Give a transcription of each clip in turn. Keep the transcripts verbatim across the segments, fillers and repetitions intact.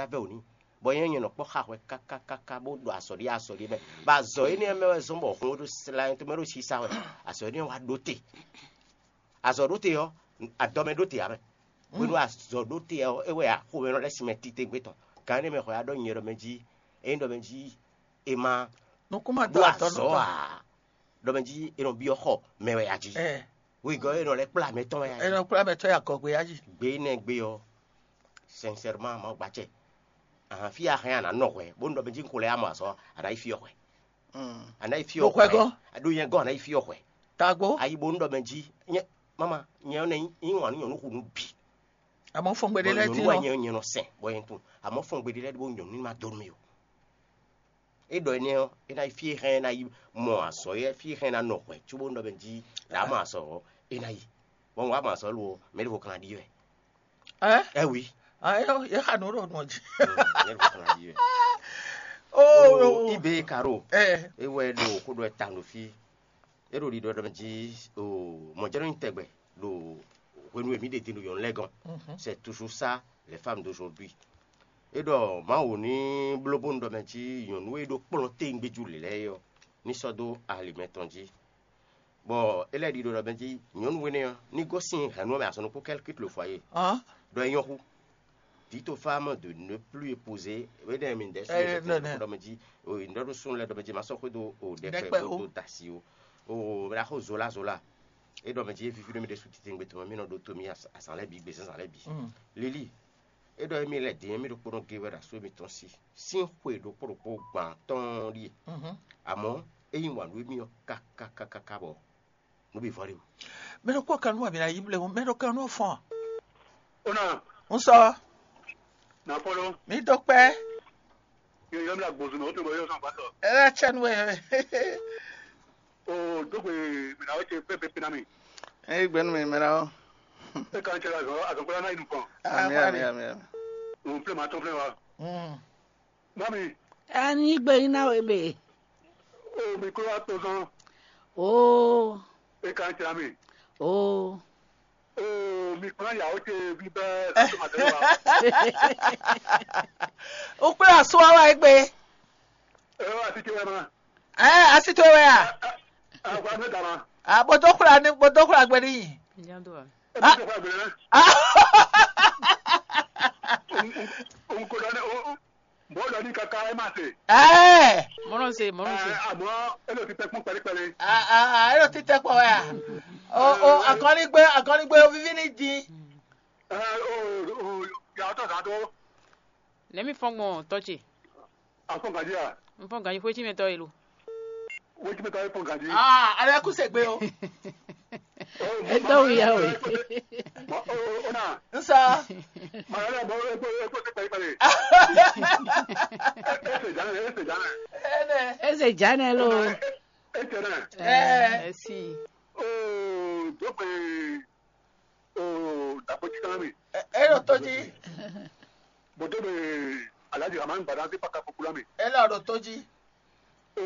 ná vɛ́ wǔ n'i, bɔ nyɛ nyɛ nɔ kpɔ́ xa hwɛ kákákáká bó ɖo azɔ̌ ɖé azɔ̌ ɖé mɛ, bɔ azɔ̌ énɛ́ mɛ wɛ zɔ́n bɔ hǔn ɖo sla tɔn mɛ ɖo sisa wɛ, azɔ̌ énɛ́ wá ɖó te. Azɔ̌ ɖó te ɔ́, adɔ mɛ ɖó te ǎ mɛ. Hwenu azɔ̌ ɖó te ɔ́, é wɛ ǎ, xomɛ nɔ lɛ́ sin mɛ titewungbe tɔn. Gǎn énɛ́ mɛ hwɛ wá ɖɔ nyɛ ɖɔ mɛ jí, ényí ɖɔ mɛ jí è ma Nukún ma dó ɖó azɔ̌ ǎ, ɖɔ mɛ jí è nɔ byɔ́ xɔ mɛ wɛ a jí. Ɛ, Wegɔ́ è nɔ lɛ́ kplá mɛ tɔn wɛ a ɛ jí. Nɔ kplá mɛ tɔn ya gɔgbe ya jí. Gbe énɛ́ gbe ɔ́, sincèrement, Mawu gbacɛ. Ahan, fí a hɛn a nǎ nɔ hwɛ, bónú ɖɔ mɛ jí un ko lɛ́ ya mɔ azɔ̌, a nǎ yi fí ɔ́ hwɛ. A nǎ yi fí Ɖo ɔ́ hwɛ hwɛ. Gɔ́. Ɖó nyɛ gɔ́ a nǎ yi fí ɔ́ hwɛ. Tagbo. A yi bónú ɖɔ mɛ jí nyɛ, mama, nyɛ ɔ́ nɛ nyí wǎn nú nyɔ̌nu xu nú bǐ. Àmọ́ fɔngbe ɖé Bɔ lɛ́ɛ nyɔ̌nu dín wɛ ɔ́. Nyɛ nyɛ nɔ sɛn, bɔ nyɛ tunwun. Àmọ́ fɔngbe ɖé lɛ́ɛ ɖó nyɔ̌nu ní ma dó nú mì o. É ɖɔ énɛ́ ɔ́, é ná yi fí e hɛn é ná yi mɔ azɔ̌ é, fí e hɛn é ná nɔ hwɛ̌ cóbónú ɖɔ mɛ jí ɖě a mɔ azɔ̌ ɔ́, é ná yi. Bɔ un wá mɔ azɔ̌ lo ɔ́, mɛ ɖěvo ka ná ɖi wɛ. Ɛ? Ɛ wi. Ah, é ɔ́, yě xa nǔ ɖo nɔ jí. Mɛ ɖěvo ka ná ɖi wɛ. Oh, Ibe Karo. Ɛ. É wɛ ɖo xó ɖɔ ta ɖo fí. É ɖo ɖiɖɔ ɖɔ mɛ jí o mɔ̌jɛ́nú nyí tɛgbɛ ɖo hwenu e mǐ ɖe din ɖo nyɔ̌nu lɛ́ɛ gɔ́n. C'est toujours ça, les femmes d'aujourd'hui. É ɖɔ Mawu ní bló bónú ɖɔ mɛ jí nyɔ̌nu e ɖó kplɔ́n téwungbéjú lě lɛ́ɛ é ɔ́, ní sɔ́ dó ali mɛtɔn jí. Bɔ é lɛ́ ɖi ɖo ɖɔ mɛ jí nyɔ̌nu énɛ́ ɔ́, ní gosín hɛ̌nnu ɔ́ mɛ azɔn ɖokpó kɛ́lkítlo fɔ ayé. Ɖɔ é nyɔ́ hú. Dit aux femmes de ne plus épouser, énɛ́ mi ɖɛ̌ Ɛ, nɛnɛ. Ɖɔ mɛ jí, o, ɖɔ ɖó súnnu lɛ́ɛ ɖɔ mɛ jí ma sɔ́ xwé dó o ɖɛkpɛ Ɖɛkpɛ o. Dó da asi o. O, mɛ ɖaxó zola zola. É ɖɔ mɛ jí é víví nú mì ɖésú titewungbe tɔn mɛ, mì nɔ ɖótó mì azǎn lɛ́ɛ bǐ, gbězánzǎn lɛ́ɛ bǐ. Lilí, é ɖɔ émí lɛ́ɛ din émí ɖokpónɔ géé wɛ ɖo asú émítɔn sí sín xwe ɖokpó ɖokpó gban tɔn ɖíe. Àmọ́ é yí wǎn nú émí ɔ́ káká káká bɔ nǔ bǐ vɔ ɖe o. Mɛ ɖokpó kan nú wɛ mǐ ná yí blɛ́ mɛ ɖo kan nú fɔ́n. Ó nà Un sɔ nà fɔ́n ló. Mǐ dó kpɛ́. Yóò yɔ mi la gbɔn zun mɛ, ó tó bɔ yóò sɔn gbàtɔ. Ɛ wá tsɛ nú wɛ. O dógbe mìnà wɛ tse pépépé ná mi. Ɛ gbɛnu mi mɛ la o. E kan tse azɔ azɔ kura ná yi nukɔn. Ami ami ami ami. Òun filɛ ma tɔn filɛ wa. Mm. Mami. Ani gbe yín ná wé be. O mi kúrò wá tó sán. Oo. E kan tse ami. Oo. Oo mi kúrò yàwó tse bí bẹ́ẹ̀ sátó màtẹ́lẹ́ wa. Ukplé asúwá wá égbé. Ẹ wá sí tiwẹ́ ma. Ẹ así tó wɛ a. Ẹ wá sí dàmà. A bó tó kura ní bó tó kura gbé níyì. Ẹ bí tó fà gbé náà. Òun kò dání o. Bó lọ ní kaka ẹ má se. Ẹ Mɔnɔ se, mɔnɔ se. Àmọ́ ẹ lọ ti tẹ́ fún pẹ́lípẹ́lí. A a a ẹ lọ ti tẹ́ pọ̀ wẹ́ a. O o akɔnigbé akɔnigbé o vivi ní dín. Ẹ o o yàtọ̀ sàdó. Nɛ̌ mi fɔ́n gbɔn tɔ́ ce? Afɔn gǎjí a? Un fɔ́n gǎjí xwé cí mɛ tɔ́ e lo. Wéjì mẹ́ta ẹ fɔn gǎjí. Ah, alẹ́ kú sègbè o. Ẹ dɔ́ wúyá o. Ó nà. N sọ. Màá lẹ bọ́ ẹ kó ẹ kó ti pẹ̀lú pẹ̀lú. Ẹ ṣe jánẹ ẹ ṣe jánẹ. Ẹnẹ. Eze jane lo. Ẹ tẹ̀lé. Ẹ. Ẹ sì. Ó dókòwé ó dàpọ̀ títàn mi. Ẹ ẹ yóò tó jí. Bó tó bẹ aláàjì àmà ń gbàdá sí pàkà kúkúrú mi. Ẹ lọ rò tó jí. Ó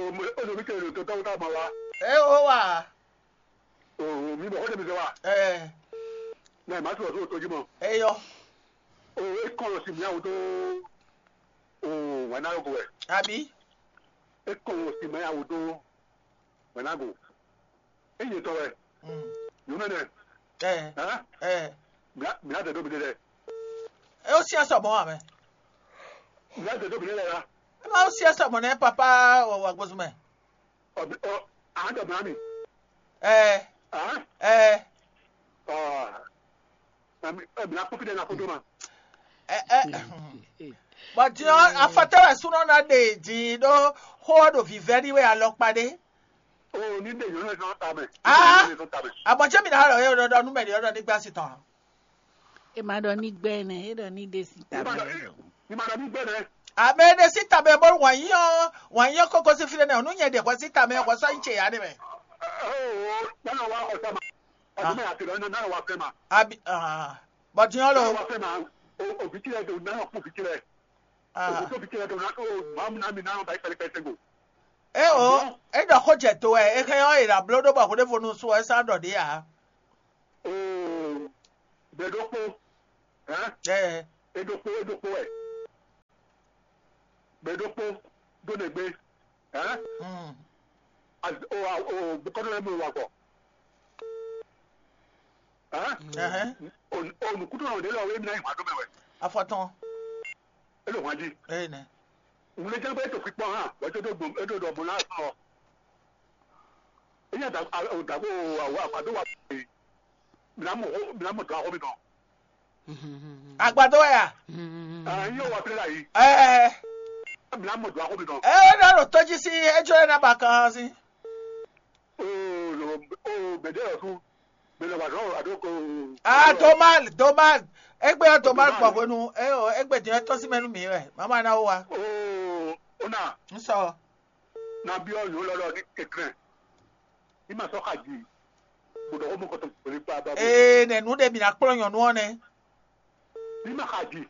lómi tẹ̀lé tó tọ́wọ́ tá a ma wá. Ẹ ó wà. Ó mi bọ̀ ó tẹ̀lé mi sọ wá. Ẹ Náà màá sọ̀rọ̀ sóò tó jí mọ́. Ẹ yọ. Ó é kọ́ lọ sí mi àwọn tó. Ó wà náà yóò bọ̀ wẹ̀. Àbí. É kọ́ lọ sí mi àwọn tó. Wẹ̀ náà gò. É yẹ tọ́ wẹ̀. Mm. Yóò mẹ́nẹ̀. Ẹ Hàn? Ẹ Mìíràn tẹ̀ dóbi dé dẹ̀. Ẹ ó sí ẹsẹ̀ ọmọ wa mẹ́. Mìíràn tẹ̀ dóbi dé dẹ̀ ya. Ẹ máa ó sí ẹsẹ̀ ọmọ náà pápá wà gbósùn mẹ́. Ọ̀ ọ̀ à ń dọ̀bọ̀ mi. Ẹ Hàn? Ẹ Ọ̀ ẹ̀ mìíràn kpókí dẹ̀ náà kó dó ma. Ẹ ẹ. Bɔn din ɔ́, afɔtɛ́ wɛ súnɔ ná ɖe din ɖó xó ɔ́ ɖo vǐvɛ́ ní wɛ alɔkpa ɖé. O ní ɖe yɔn lɛ sɔn ta mɛ. Ah! Ní ɖe yɔn lɛ sɔn ta mɛ. Àmọ́ jẹ́ mi náà rọ̀ yóò ɖɔdɔ nú mẹ́rin ọ̀dọ́ nígbà sí tán. Ema ɖɔ ní gbɛ nɛ, e ɖɔ ní ɖe si ta Ní ma mɛ ɖɔ ní lɔ. Ní ma ɖɔ ní gbɛ nɛ. Àmì ɖe sí tàbí bó wà yín ọ́, wà yín ọ́ kókó sí fílẹ̀ náà, nú nyɛ ɖe hwɛ sí tàbí hwɛ sɔ yín tse yá ɖe mɛ. Ó nánà wá ọ̀sẹ̀ ma. Ọ̀sẹ̀ mẹ́rin àti ìrọ̀lẹ́ nánà wá fẹ́ ma. Àbí bọ̀dìyàn lò. Nánà wá fẹ́ ma. Òbí tí ẹ dò nánà kú òbí tí ẹ. Òbí tó òbí tí ẹ dò nánà tó máa mú náà mi nánà báyìí pẹlẹpẹlẹ sẹ́gbò. E o, e ɖɔ xó jɛ to wɛ, e xɛ ɔ́, e ɖo abló ɖó bɔ hwéɖévonu su ɔ́, e sá ɖɔ ɖě ǎ. Oo, bɛ̌ ɖokpó, hɛn? Ɛ, E ɖokpó, e ɖokpó wɛ. ɖokpó dó nɛgbé. Hɛn? Mm. O o bukɔnɔ lɛ mɔ wa gbɔ. Hɛn? Ɛhɛn. O o nukútɔ nɔ ɖe lɔ wé mi na yi hwa dó mɛ wɛ. Afɔtɔn. E lo hwa jí. Ee nɛ. Ŋun lɛ jẹ́ pé ètò pípọ́ hàn wọ́n tó dó gbòm é dó dó ọmọ náà sọ̀rọ̀. Eyín àdàgbò àwọ̀ àgbàdo wà pé mi na mọ̀ mi na mọ̀ tó akọ́ mi tán. Agbadɔ ya. Yóò wá pélé la yìí. Ɛɛ. Mi na mọ̀ tó akọ́ mi tán. Ɛɛ, na ɖo tɔjí sí ejɔ yɛ na ba kan sí. O o bɛdɛ yɔ fún mi lọ wà sọ àdókò. Ah, domal domal. Egbe ya domal gbɔ hwenu. Eyo, egbe din tɔ sí mɛnu mi wɛ mama na wo wa. O o na. N sɔ. Na biɔ yóò lɔ lɔ ní kẹkẹrẹ. Ní ma sɔ xa jì. Bó dɔgɔ mɔ kɔtɔ pèlè kpa ba. Ee, nɛ nu ɖe mi na kplɔ́n nyɔnu ɔ́ nɛ. Ní ma xa jì.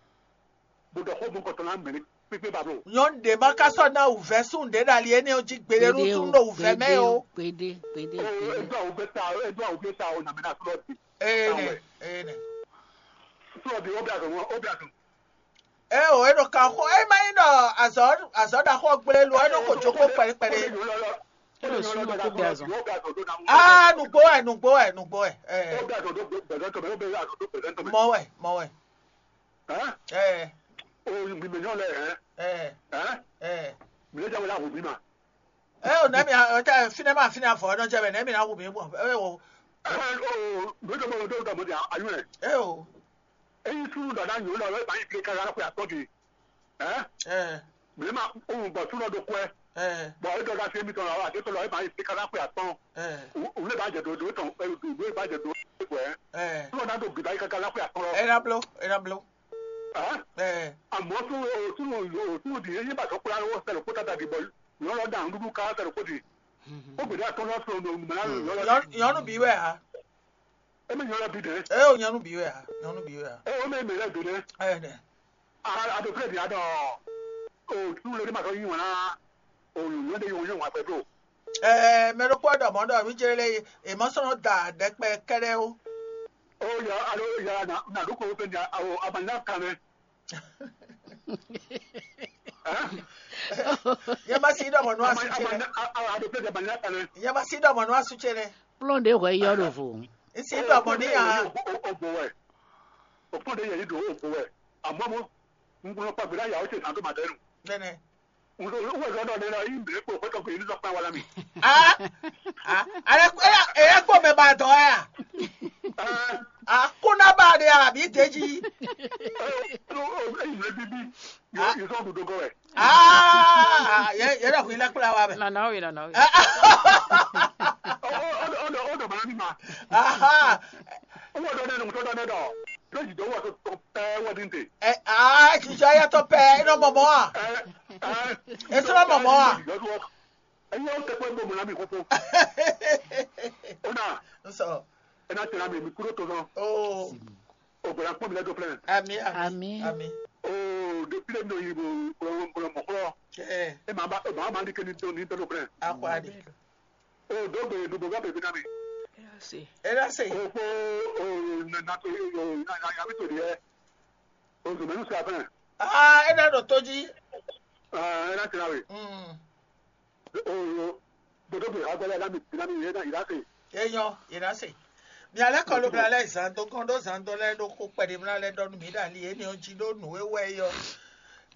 Bó dɔgɔ mɔ kɔtɔ na mɛlɛ pépé ba blo. Nyɔnu ɖe ma ka sɔ na wǔvɛ́ sún ɖě ɖo ali énɛ́ ɔ́ jí gbeɖé nú tún ɖo wǔvɛ́ mɛ o. Gbede, gbede, gbede. Edo awu bɛ ta edo awu bɛ ta o na mɛ na sɔrɔ di. Ee nɛ, ee nɛ. Sɔrɔ di o bɛ azɔ o bɛ azɔ. Eo, é ɖo kan xo é má nyí ɖɔ azɔ̌ azɔ̌ ɖaxó ɔ́ gblé lo é nɔ ko jó xó kpɛɖé kpɛɖé. Éɖo súnnu kó bɛ azɔn. Aa, nǔgbó wɛ, nǔgbó wɛ, nǔgbó wɛ. Ɛ, mɔ wɛ, mɔ wɛ. Ɛ, ɛ, ɛ. Ɛ, o nɛmi ɔtɛ finɛ ma finɛ afɔ ɔdɔ jɛ bɛ nɛmi na wu mi bɔ. Ɛ, o. Ɛ, o. Eyi súnnu ɖɔ ná nyɔ̌nu ɖɔ é bǎ yi flé káká xwe atɔ́ gbe. Ɛ, mǐ ma, ó wun gbɔ súnnu ɖo kwɛ. Bɔ é ɖɔ ɖo asi émítɔn lɔ àti étɔn lɔ é bǎ yi flé káká xwe atɔ́. Wǔ lé bá jɛ do do tɔn wǔ lé bá jɛ do gbɛ. Súnnu ná ɖo gbǐ bá yi káká xwe atɔ́ lɔ. Ena blo, ena blo. Ɛ, Àmọ́ súnnu súnnu súnnu di yé bá sɔ kplá wɔ sɛlɛ kó tata di bɔ nyɔ̌nu lɔ da nǔɖuɖu ká sɛlɛ kó di. Ó gbèdé atɔ́ lɔ sɔ nɔ nùmọ̀ náà lɔ. Nyɔnu bi wɛ ha. Émi nyɔnu lɔ bi dɛ. Ɛ, o nyɔnu bi wɛ ha. Nyɔnu bi wɛ ha. Ɛ, o mɛ mɛ lɛ do dɛ. Ɛ, nɛ. A a do fúlẹ̀ di a dɔ o tún lórí ma sɔ yín wọn ná o yóò de yín wọn yóò wọn pẹ̀lú. Ɛɛ, mɛ ɖokpó ɖɔ mɔ̌ ɖɔ mí jɛ lé è mɔ sɔ́ nɔ da ɖɛkpɛ kɛ́ɖɛ́ ó. Ó yà alo yà nà nà ɖó kó fẹ́ nya o abanyá kan mɛ. Yɛ ma si ɖɔ mɔ̌ nú asú ce nɛ. Abanyá kan mɛ. Yɛ ma si ɖɔ mɔ̌ nú asú ce nɛ. Kplɔ́n ɖě hwɛ yɔ ɖo vo. N si ɖɔ mɔ̌ n'i ǎ. O bò wɛ. O kplɔ́n ɖě yɛ yí ɖo o bò wɛ. Àmọ́ mo, n kplɔ́n kpagbe ɖá yà ó ce zǎn tó ma dɛ́ nu. Nɛnɛ. Wezɔdɔ ɖe lɔ yí mǐ kpo xwétɔn gbe ní sɔkpɛn wala mì. Ah, ah, ale ele ele kpɔ mɛ ba dɔ ya. Ah, kuna ba de ya bi deji. Eyi mɛ bibi. Yóò sɔ ɖuɖo gɔ wɛ. Ah, ye ye dɔ hui la kpla wa mɛ. Nana o ye nana o ye. Ɔdɔ ɔdɔ bana mi ma. Aha. Wọ́n dɔ ne nùtọ́ dɔ ne dɔ. Lójijì wọ́n sọ tọ́ pẹ́ wọ́n dín tè. Ɛ aa, jijɔ ya tɔ pɛ, e nɔ mɔmɔ a? Ɛ ɛ. E sɔ mɔmɔ a? Ẹ̀yin ó tẹ́pẹ́ gbogbo náà mi kókó. Ó nà N sɔ. Ẹ náà tẹ̀lé mi, mi kúrò tó sọ. Oo. Ògbóná pọ́n mi lẹ́dọ̀ fúlẹ̀. Ami ami. Ami. Ami. Oo, depuis le nɔ yi bo bolo bolo mɔ̀kúrọ̀. Ɛ. E ma ba e ma ma ní kɛ ní dɔn ní dɔn fúlẹ̀. Akɔ adi. Oo, dɔgbe dugbo bá bèbí náà mi. Ela se. O ko o na na to o na na ya mi to diẹ. O zùmẹ̀lú sí afẹ́. Aa, e na ɖo tó jí. Aa, e na tẹ̀lé awe. Mm. O o gbọdọ bẹ agbẹlẹ lami lami yẹn na yìí láti. Eyɔn yìí láti. Mi alẹ́ kọ́ ló bla lẹ́ zan dó gán dó zan dó lẹ́ ɖó kó kpɛɖé mla lẹ́ ɖɔ nú mi ɖo ali yẹn ni jí ɖó nǔ e wɛ yɔ.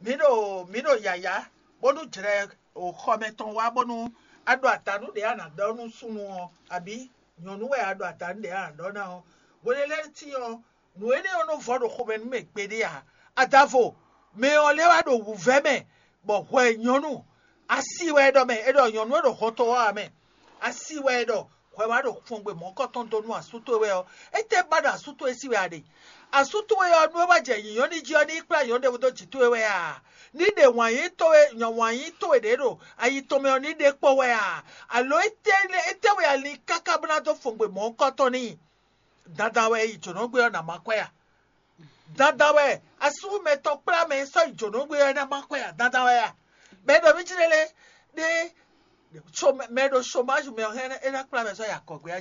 Mi ɖo mi ɖo yàyà bónú jlɛ o xɔmɛ tɔn wá bónú a ɖo ata nú ɖě a nǎ ɖɔ nú súnnu ɔ́, abǐ nyɔ̌nu wɛ a ɖo ata nú ɖě a nǎ ɖɔ ná ɔ́. Hwelélɛ́tín ɔ́, nǔ énɛ́ ɔ́ nɔ vɔ ɖo xomɛ nú mɛ gbeɖé ǎ. Adavo, mɛ ɔ́ lɛ́ wá ɖo wǔvɛ́ mɛ, bɔ hwɛ nyɔ̌nu, asi wɛ é ɖɔ mɛ, é ɖɔ nyɔ̌nu e ɖo hɔn tɔn wá ɔ́ mɛ, asi wɛ é ɖɔ hwɛ wá ɖo xɔngbe mɔ̌kɔtɔn dó nú asú towe wɛ ɔ́, étɛ́ ba ɖo asú towe sí wɛ a ɖe? Asú towe ɔ́, nú é wá jɛ nyǐnyɔ́ ní jí ɔ́, ní yi kplá nyɔ̌nu ɖěvo dó jǐ towe wɛ a? Ní ɖe wǎn yí towe wǎn yí towe ɖě ɖo ayi tɔn mɛ ɔ́, ní ɖe kpɔ́ wɛ a? Alo étɛ́ étɛ́ wɛ a lin káká bó ná dó xɔngbe mɔ̌kɔtɔn n'i? Dandan wɛ yi jǒnɔgbé ɔ́ nǎ má kwɛ́ a? Dandan wɛ asúmɛ tɔn kplá mɛ e sɔ́ yi jǒnɔgbé ɔ́ ná má kwɛ́ a? Dandan wɛ a? Mɛ e ɖo mí jí lélé ɖé mɛ e ɖo chômage mɛ ɔ́ hɛn é ná kplá mɛ sɔ́ yi akɔgbé a?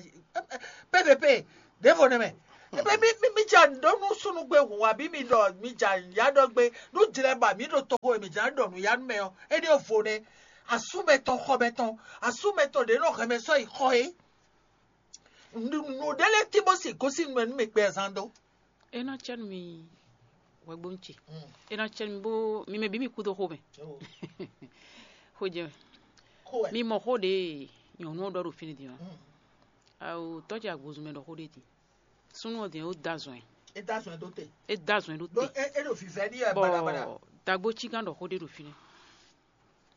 P V P ɖěvo nɛ́ mɛ. Ebe mi mi mi ja ɖɔ nú súnugbe hǔn abǐ mi ɖɔ mi ja ya ɖɔ gbe nú jlɛ ba mi ɖo toxo e mi ja ɖɔ nú ya nú mɛ ɔ́, éɖée vo nɛ́. Asú mɛtɔn xɔ mɛtɔn, asú mɛtɔn ɖě nɔ hɛn mɛ sɔ́ yi xɔ é. Nǔɖé lɛ́ɛ tí bó si gosín nú mɛ nú mi gbɛ zán dó. É ná cɛ́ nú mi hwɛgbónu ce. É ná cɛ́ nú mi bó mi mɛ bǐ mi kú dó xomɛ. Xó jɛ mɛ. Mi mɔ xó ɖě nyɔ̌nu ɔ́ ɖɔ ɖo fínɛ́ din ɔ́. Awo tɔ́ ce agbozun mɛ ɖɔ xó ɖé din. Súnnu ɔ́ din é wó dó azɔn ɛ. É dó azɔn ɛ ɖó te. É dó azɔn ɛ ɖó Ɖó te. É é ɖo vǐvɛ́ n'i wɛ baɖabaɖa. Bɔ dagbó cí gán ɖɔ xó ɖé ɖo fínɛ́.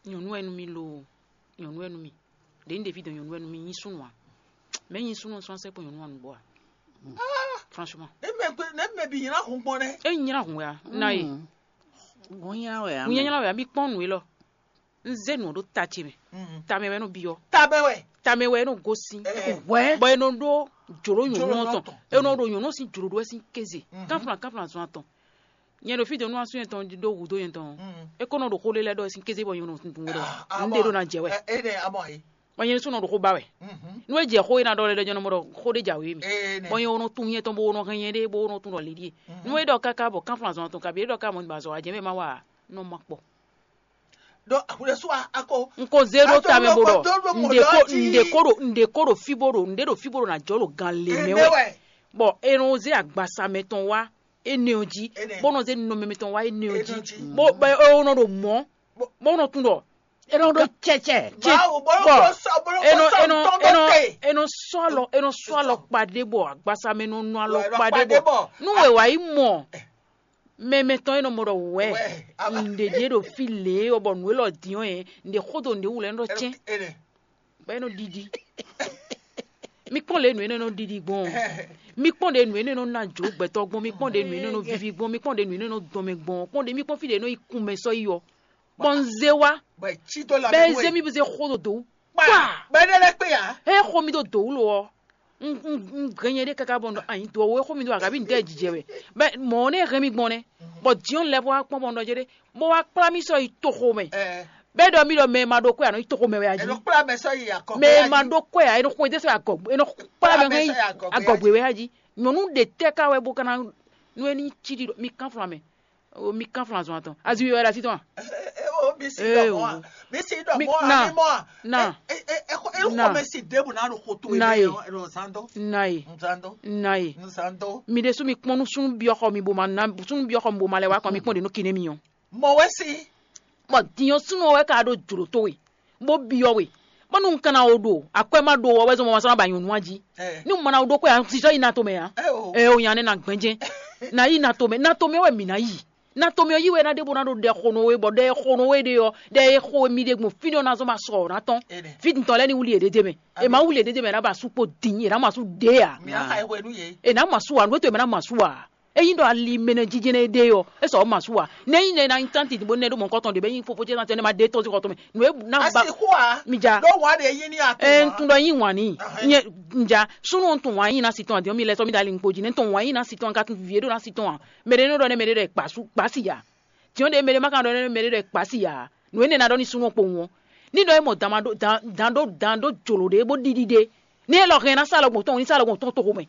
Nyɔ̌nu wɛ nú mì lo, nyɔ̌nu wɛ nú mì. Ɖě un ɖe fí dɔn nyɔ̌nu wɛ nú mì nyí súnnu ǎ. Mɛ̌ nyí súnnu ɔ́ sɔ́ sɛ́ kpɔ́n nyɔ̌nu ǎ nǔgbó ǎ. Franchement. Ne mɛ ne mɛ bi nyina hun gbɔn nɛ. É nyí nyina hun wɛ ǎ. Na e. Gɔn nyina wɛ ǎ. Hun nyanya wɛ ǎ, mi kpɔ́n nǔ élɔ́. Un zé nǔ ɔ́ ɖó ta ce mɛ. Tamɛ wɛ nɔ byɔ́. Tabɛ wɛ. Tamɛ wɛ nɔ gosín. Hwɛ. Bɔ e nɔ ɖó jǒló nyɔ̌nu ɔ́ tɔn. E nɔ ɖo nyɔ̌nu ɔ́ sín jlǒɖó wɛ sín kéze. Kánflán kánflán zɔn atɔn. Nyɛ ɖo fí dɔn nú asú nyɛtɔn ɖó hǔdó nyɛtɔn. É kó nɔ ɖo xó lé lɛ́ɛ ɖɔ sín kéze bɔ nyɔ̌nu ɖó. Un ɖe ɖó ná jɛ wɛ. Ene amɔ yi. Bɔ nyɛ ɖésú nɔ ɖo xó ba wɛ. Nú é jɛ xó e ná ɖɔ lɛ́ɛ ɖɔ nyɛ nɔ mɔ ɖɔ xó ɖé jǎwe mɛ. Bɔ nyɛ wo nɔ tunwun nyɛ tɔn bó wo nɔ hɛn nyɛ ɖé bó wo nɔ tunwun ɖɔ lě ɖíe. Nú é ɖɔ káká bɔ kánflán zɔn atɔn kabi é ɖɔ ká mɔ ba zɔ wá jɛ mɛ má wa a, nɔ ma kpɔ. Ɖo ahuɖésú a ako. Un ko zé ɖó ta mɛ bó ɖɔ un ɖe ko ɖo un ɖe ko ɖo fí bó ɖo un ɖe ɖo fí bó ɖo ná jɔ ɖo gan lě mɛ wɛ. Bɔ è nɔ zé agbasa mɛtɔn wá énɛ́ ɔ́ jí, bó nɔ zé nɔmɛ mɛtɔn wá énɛ́ ɔ́ jí, bó bɔ é nɔ ɖo mɔ̌, bó nɔ tunwun ɖɔ É nɔ ɖó cɛcɛ. Cɛ- Mawu bolo bɔ kɔsɔ bolo enɔ kɔsɔ enɔ tɔn enɔ dɔ te. Enɔ sɔ alɔ enɔ sɔ alɔ kpaɖé bɔ agbasa mɛ nɔ nɔ alɔ Wɛ, alɔ kpaɖé kpaɖé bɔ bɔ. Nu wɛ wá yi mɔ mɛmɛ tɔn enɔ mɔ ɖɔ wɛ Wɛ, aba. Nɖe ɖie ɖo fi lě ɔ bɔ nǔ élɔ́ diɔ yɛ nɖe xó do nɖe wú lɛ nɔ cɛn Ene. Bɔ enɔ ɖiɖi. Mi kpɔn lě nǔ enɔ nɔ ɖiɖi gbɔn. Mi kpɔn ɖe nǔ enɔ nɔ na jǒ gbɛtɔ gbɔn. Mi kpɔn ɖe nǔ enɔ nɔ vivi gbɔn. Mi kpɔn ɖe nǔ enɔ nɔ dɔn mɛ gbɔn. Kpɔn ɖe mi kpɔn fi ɖe nɔ yi kun mɛ sɔ yi ɔ. Bɔ un zé wá. Bɔ ɛ cí dó la Bɛ mɛ eze wɛ. Mi bu ze xó dodo. Kpa. Kpa. Bɛ ne lɛ kpe ya. He xo mi do do wulo ɔ. Un un un gɛn nyɛ ɖe kaka bɔ nɔ anyi do ɔwɔ xo mi do agabi ntɛ jijɛ wɛ. Bɛ mɔ ne hɛn mi gbɔn nɛ. Bɔ diɔn lɛ bɔ akpɔn bɔ nɔ jɛ ɖe. Bɔ wa kpla mi sɔ yi toxo mɛ. Ɛ. Bɛ dɔ mi dɔ mɛ ma ɖo kɔ ya nɔ yi toxo mɛ wɛ aji. Eno kpla mɛ sɔ yi akɔ. Mɛ ma ɖo kɔ ya eno xo de sɔ agɔgbe eno kpla mɛ hɛn yi agɔgbe wɛ aji. Nyɔnu de tɛ ka wɛ bo kana nu eni ci ɖi mi kan flan mɛ. O mi kan flan zɔn atɔn. Azi wi wɛ ɖe asi tɔn a? Ee, o mi si Ee, dɔ mɔ a? o. Mi si dɔ Mi- mɔ a? na, Mi mɔ a? na, E- e- e- e- e- na. Xɔ mi si debu na ɖo xo to Na ye. Eme ɖo zan dɔ. Na ye. Zan dɔ. Na ye. Zan dɔ. Mi ɖe su mi kpɔn nu sunu biɔ xɔ mi bo ma na sunu biɔ xɔ mi bo ma lɛ wa kɔn mi kpɔn de no kine mi yɔn. Mɔ wɛ si. Bɔ diɲɔ sunu wɛ ka ɖo jlo to we. Bo biɔ we. Bɔ nu kan na o ɖo akwɛ ma ɖo wɔ wɛ zɔn mɔ ma sɔn na ba nyɔnu a ji. Ɛ. Ni mo ma na o ɖo kɔ ya sisɔ yi na to mɛ ya. Ɛ o. Ɛ o nya ne na gbɛnjɛ. Na yi na to mɛ na to mɛ wɛ mi na yi. Na to mɛ ɔ yi wɛ na ɖe bo na ɖo ɖɛ xo nɔ we bɔ ɖɛ xo nɔ we ɖe ɔ ɖɛ e xo mi ɖe gbɔn fínɛ́ ɔ na zɔn ma sɔ ɔ na tɔn. Ene. Fi ntɔn lɛ ni wuli yɛ ɖe mɛ. E ma wuli yɛ ɖe mɛ na ba su kpo din yɛ na ma su ɖe ya. Mi a xa ewé nu ye. E na ma su wa nu eto yɛ mɛ na ma su wa. Eyin ɖɔ ali mɛnɛ jijɛnɛ ɖe ɔ e sɔ ma su wa. Ne yin ne na yin tanti bo ne ɖo mɔ kɔtɔn de bɛ yin fofo jɛ na tɛ ne ma ɖe tɔn si kɔtɔn mɛ. Nu e na ba Asi xo a. Mi ja. Ɖo wa ɖe yi ni a to E wa. Ntun ɖɔ yin wani. Ahɛ. Nye nja sunu ntun wa yin na si tɔn adiɔ mi lɛ sɔ mi da li nkpo ji ne tɔn wa yin na si tɔn ka tun vie ɖo na si tɔn a. Mɛ ɖe nɔ ɖɔ nɛ mɛ ɖe ɖɔ kpasu kpasi ya. Tiɔn ɖe mɛ ɖe ma ka ɖɔ nɛ mɛ ɖe ɖɔ kpasi ya. Nu ene na ɖɔ ni sunu kpo wɔn. Ni ɖɔ e mɔ dan ma ɖo dan dan ɖo dan ɖo jolo ɖe bo ɖiɖi ɖe. Ni e lɔ hɛn na sa lɔ gbɔn tɔn ni sa lɔ gbɔn tɔn to xomɛ.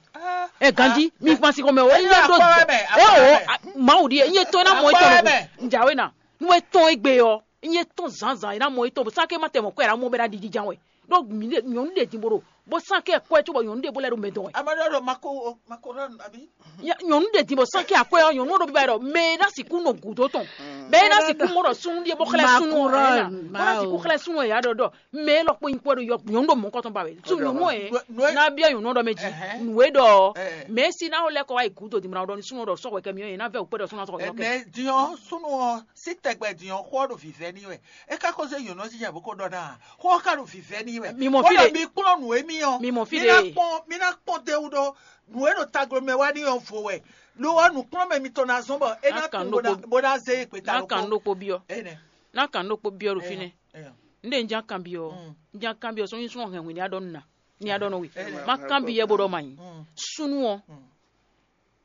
Ɛ ganji mi kpansi xɔmɛ o. Eyin Eyin ɖo akpɔ wɛ mɛ, e akpɔ wɛ o mɛ. Mawu ɖi eyin etɔn na mɔ Akpɔ etɔn wɛ mɛ. Njawe na. Nu etɔn egbe yɔ. Nye tɔn zǎnzǎn e ná mɔ étɔn bɔ sáké má tɛ mɔ kɔ e ná mɔ bɛ ná ɖiɖi jan wɛ. Ɖó nyɔ̌nu ɖe din bo ɖo bó sáké kɔ ɛ cóbɔ nyɔ̌nu ɖe bó lɛ́ ɖo mɛ dɔn wɛ. Ame ɖe ɖo mako mako ɖɔ abi. Nyɔ̌nu ɖe din bɔ sáké akɔ ɛ nyɔ̌nu ɖo bíbá ɖɔ mɛ e ná sixú nɔ gǔdo tɔn mɛ e ná sixú mɔ ɖɔ súnnu ɖíe bó xlɛ́ súnnu ɛ ná bó ná sixú xlɛ́ súnnu ɛ yá ɖɔ ɖɔ mɛ e lɔkpɔ nyi kɔ ɖo nyɔ̌nu ɖo mɔ̌kɔtɔn ba wɛ sú nyɔ̌nu ɛ ná bia nyɔ̌nu ɖɔ mɛ jí nǔ e ɖɔ mɛ e si ná lɛ́ kɔ wá yi gǔdo din bɔ ná ɖɔ ní súnnu ɖɔ sɔ́ wɛ kɛ mi ɔ́ yě ná vɛ wǔ kpɛ ɖɔ súnnu ná sɔ́ wɛ. Ɛnɛ diɔ súnnu ɔ sí tɛgbɛ diɔ xó ɔ ɖo vǐvɛ́ n'i wɛ. É ka ko zé nyɔ̌nu ɔ́ jínjɔ́n bó ko ɖɔ ná ǎ. Xó ɔ́ ka ɖo vǐvɛ́ n'i wɛ. Mi mɔ fí Bó ɖe. Ɖɔ mi kplɔ́n nǔ e mì ɔ́. Mi mɔ fí Mi ná ɖe. Kpɔ́n mi ná kpɔ́n d'é wú ɖó nǔ e ɖo taglomɛ wá n'i ɔ́ vo wɛ. Lo ɔ́ nǔkplɔ́nmɛ mitɔn ná zɔ́n bɔ é ná Ná kan tunwun bó ná ɖokpó- bó ná zé yi gbeta Ná kan ɖokpó. Ɖokpó byɔ́. Énɛ́. Ná kan ɖokpó byɔ́ ɖo fínɛ́. Énɛ́. Un ɖe un já kan byɔ́. Mm. Un já kan byɔ́ sɔ́ nyí súnnu hɛn hwenu ní a ɖɔ nú nǎ. Ní a ɖɔ nú we. Énɛ́. Má kan byɔ́ bó ɖɔ ma nyi. Mm. Súnnu ɔ́. Mm.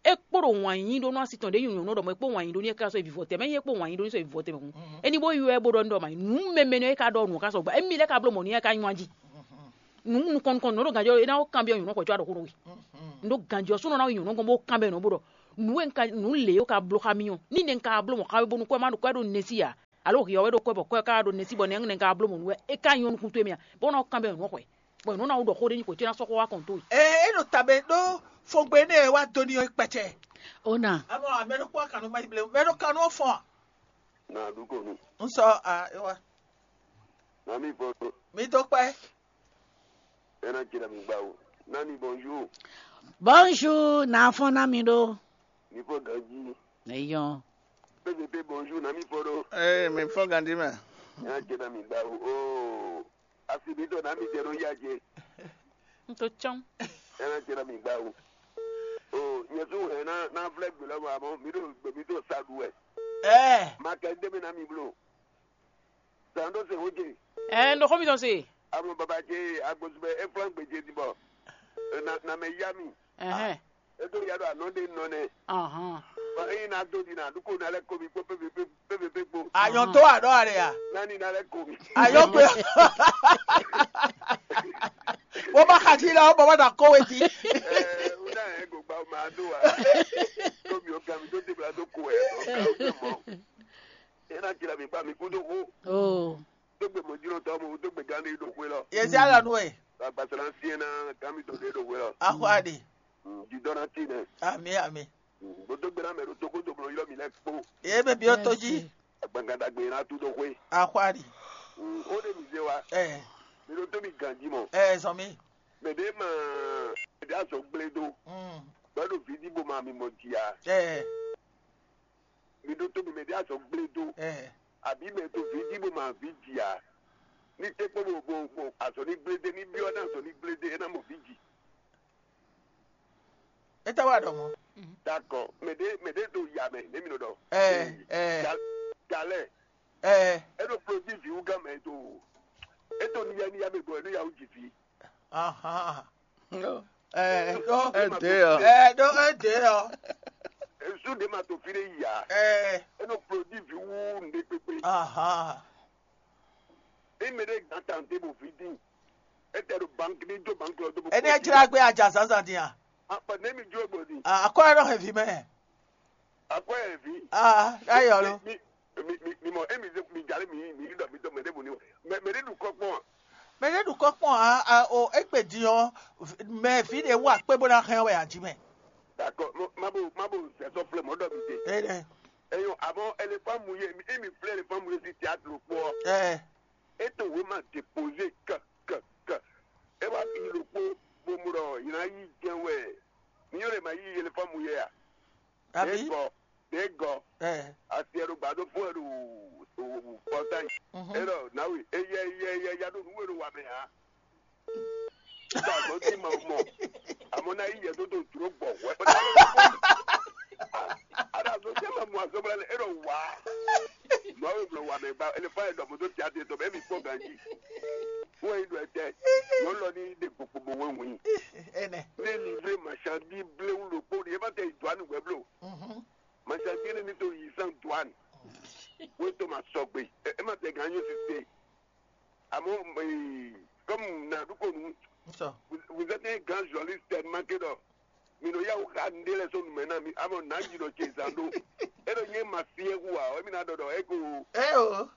É kpó ɖo wǎn yí ɖó nú así tɔn ɖě nyɔ̌nu ɖɔ mɔ é kpó wǎn yí ɖó ní é ká sɔ́ yi vivɔ tɛmɛ é kpó wǎn yí ɖó ní sɔ́ yi vivɔ tɛmɛ hǔn. Éní bó ywɛ bó ɖɔ ní ɖɔ ma nyi nǔ mɛmɛ nɔ é ká ɖɔ nǔ ká sɔgba émi lɛ́ ka bló mɔ̌ ní é ká nywá jí. Nǔ nukɔn nukɔn nǔ ɖo gǎnjɔ é ná ko kanbyɔ́ nyɔ̌nu xwɛ̌ có a ɖo xó nú we. Un ɖó ganjɔ súnɔ ná yi nyɔ̌nu gɔ́n bó kanbyɔ́ nǔ bó ɖɔ nǔ e un ka nǔ lě e un ka bló xá mì ɔ́, ní nɛ́ un ka bló mɔ̌ xá we bónú kɔ́ má ɖo kɔ́ ɖo nɛ́ sí ǎ, alo hǐ ɔ́ wɛ ɖo kɔ́ bɔ kɔ́ ka ɖo nɛ́ sí bɔ nɛ́ un ka bló mɔ̌ nú wɛ é ka nyɔ́ nukún towe mɛ a, bó ná kanbyɔ́ nǔ ɔ́ xwɛ, bɔ nǔ ná wú ɖɔ xó ɖé nyi xwě ce ná sɔ́ xó wá kɔn towe. Ee, é ɖo tabe ɖó fɔngbe énɛ́ e wá dó ní ɔ́ kpɛ́cɛ. Ó nà. Amɔ mɛ ɖokpó akanú ma yi ble, mɛ ɖo kanú ɔ́ fɔ́n a? Na ɖu ko nu. Un sɔ a é wá. Na mi fɔ ɖo. Mi dó kpɛ́. Ena jira mi gba o. Nani bonjour. Bonjour, na fɔ́n ná mi ɖó. Mi fɔ ganji. Eyɔn. P V P bonjour, na mi fɔ ɖo. Ee, mi fɔ ganji mɛ. Ena jira mi gba o. Oo. Asi mi to na mi jɛ ɖo ya jɛ. Un to tsɔ́n. Ena jira mi gba o. Oo, nyɛ su hɛn na na vlɛ gbe lɔ ma mɔ mi ɖo gbe mi to sa ɖu wɛ. Ɛɛ. Ma kɛ de mi na mi blo. Zan ɖo se wo je. Ɛɛ, un ɖo xó mitɔn se. Amo baba ce agbosubɛ e flan gbe ce ti bɔ. Na na mɛ ya mi. Ɛhɛn. E to ya ɖo anɔ ɖe nɔ nɛ. Ahɔn. Ba e na do di na ɖuko na lɛ komi kpo pépépépé kpo. Ayɔn tó aɖɔ ale ya. Nani na lɛ komi. Ayɔn gbe. Wo ma xa ti la, wo bɔ ma da kɔwe ti. Ɛɛ, o na yɛ go gba o ma do wa. Komi o gami do debla do ko ɛ o ka o mɔ. E na jira mi ba mi kudo ko. Oh. Tó gbe mɔjínɔtɔ́ mo tó gbe gán ɖé ɖo xwé lɔ. Yɛ sí alɔ nú ɛ. Agbasara sí ɛ ná gán mi tɔn ɖé ɖo xwé lɔ. Axɔ aɖe. Jidɔn ná tí nɛ. Ami ami. Bó tó gbe ná mɛ ɖo tókó tó blɔ ylɔ mi lɛ kpó. Ye bɛ bi o tó jí. Agbangada gbe ná tú ɖo xwé. Axɔ aɖe. Ó ɖe mi zé wa. Ɛ Mi ɖo tó mi ganji mɔ. Ɛ zɔn mi. Mɛ ɖé ma mɛ ɖé azɔ gblé dó. Mm. Bɛ ɖo vidi bó ma mi mɔ jia. Ɛ Mi ɖo tó mi mɛ ɖé azɔ gblé dó. Ɛ Àbí mɛ to vidi bó ma vidi a? Ní tɛ́ kpó bó bó bó azɔ ní gblé dé ní byɔ́ ná azɔ ní gblé dé é ná mɔ vidi. É tá wá ɖɔ mɔ. Dakɔ, mɛ ɖé mɛ ɖé to ya mɛ ní mi nɔ ɖɔ. Ɛ ɛ Dalɛ, ɛ é ɖo kplɔ́ jí vǐwú gán mɛ to. É to ní ya ní ya mɛ gbɔ é nú ya wú jì vǐ. Ahan. Ɛ ɖó Ɛ dé ɔ. Ɛ ɖó é dé ɔ. Esu ɖe ma to fi ɖe yi ya. Ɛ E nɔ kplɔ́ jí vǐ wú nǔɖé kpékpé. Ahan. E mɛ ɖé gán tante bò fi dín. E tɛ ɖo banki ní jó banki lɔ dó bó. Ene jla gbé aja zazan din a. Akpa ne mi jó gbɔ din. Akɔ ɛ nɔ hɛn vi mɛ. Akɔ ɛ vi. Ah, ayɔ lo. Mi mi mi mi mɔ emi ze mi jale mi mi ɖɔ mi dɔ mɛ ɖe bo ni mɛ mɛ ɖe ɖu kɔ kpɔn. Mɛ ɖe ɖu kɔ kpɔn a a o egbe din ɔ mɛ vi ɖe wú akpé bó ná hɛn wɛ aji mɛ. D'accord, mo ma bo ma bo sɛ sɔ flɛ mɔ ɖɔ mi de. Ene. Eyo, avant éléphant mouillé, emi flɛ éléphant mouillé si théâtre kpɔ. Ɛ E to wema déposé k k k. E wá yi ɖokpó bo mu ɖɔ yi ná yi jɛn wɛ. Mi yɔn lè ma yi éléphant mouillé a? Abi. Dégɔ dégɔ. Ɛ Asi ɛ ɖo gbadó fún ɛ ɖo pɔtá yi. Mhm. E ɖɔ nawe eyɛ eyɛ eyɛ ya ɖo nǔ e ɖo wa mɛ a? Tá a gbɔn tí ma mɔ. Àmọ́ náà yíyẹ tó tó dúró gbọ̀ wẹ́. Ada tó tẹ́ ma mú asọ́gbọ́n lẹ́ e ɖɔ wá. Mɔ̌ e blɔ wà mɛ gba ele fa edɔ moto ti ati etɔn bɛ mi kpɔ ganji. Fún eyi ɖɔ ɛtɛ. Yɔ lɔ ni de gbogbo wo ŋu. Ene. Ne livre machandise blewu ɖokpó ɖi e ma tɛ yi douane wɛ blo. Mhm. Machandise ne ni to yi san douane. Wo to ma sɔgbe. E ma tɛ gan nyo sise. Àmọ́ ee, comme na ɖu ko nu. Sɔ. Vous vous êtes un grand journaliste tellement que ɖɔ mi nɔ yawu xa nɖe lɛ sɔ numɛ na mi amɔ na yi ɖɔ tse zan ɖo. E ɖɔ nye ma fi ewu a ɔ emi na ɖɔ ɖɔ e ko. Ɛ o.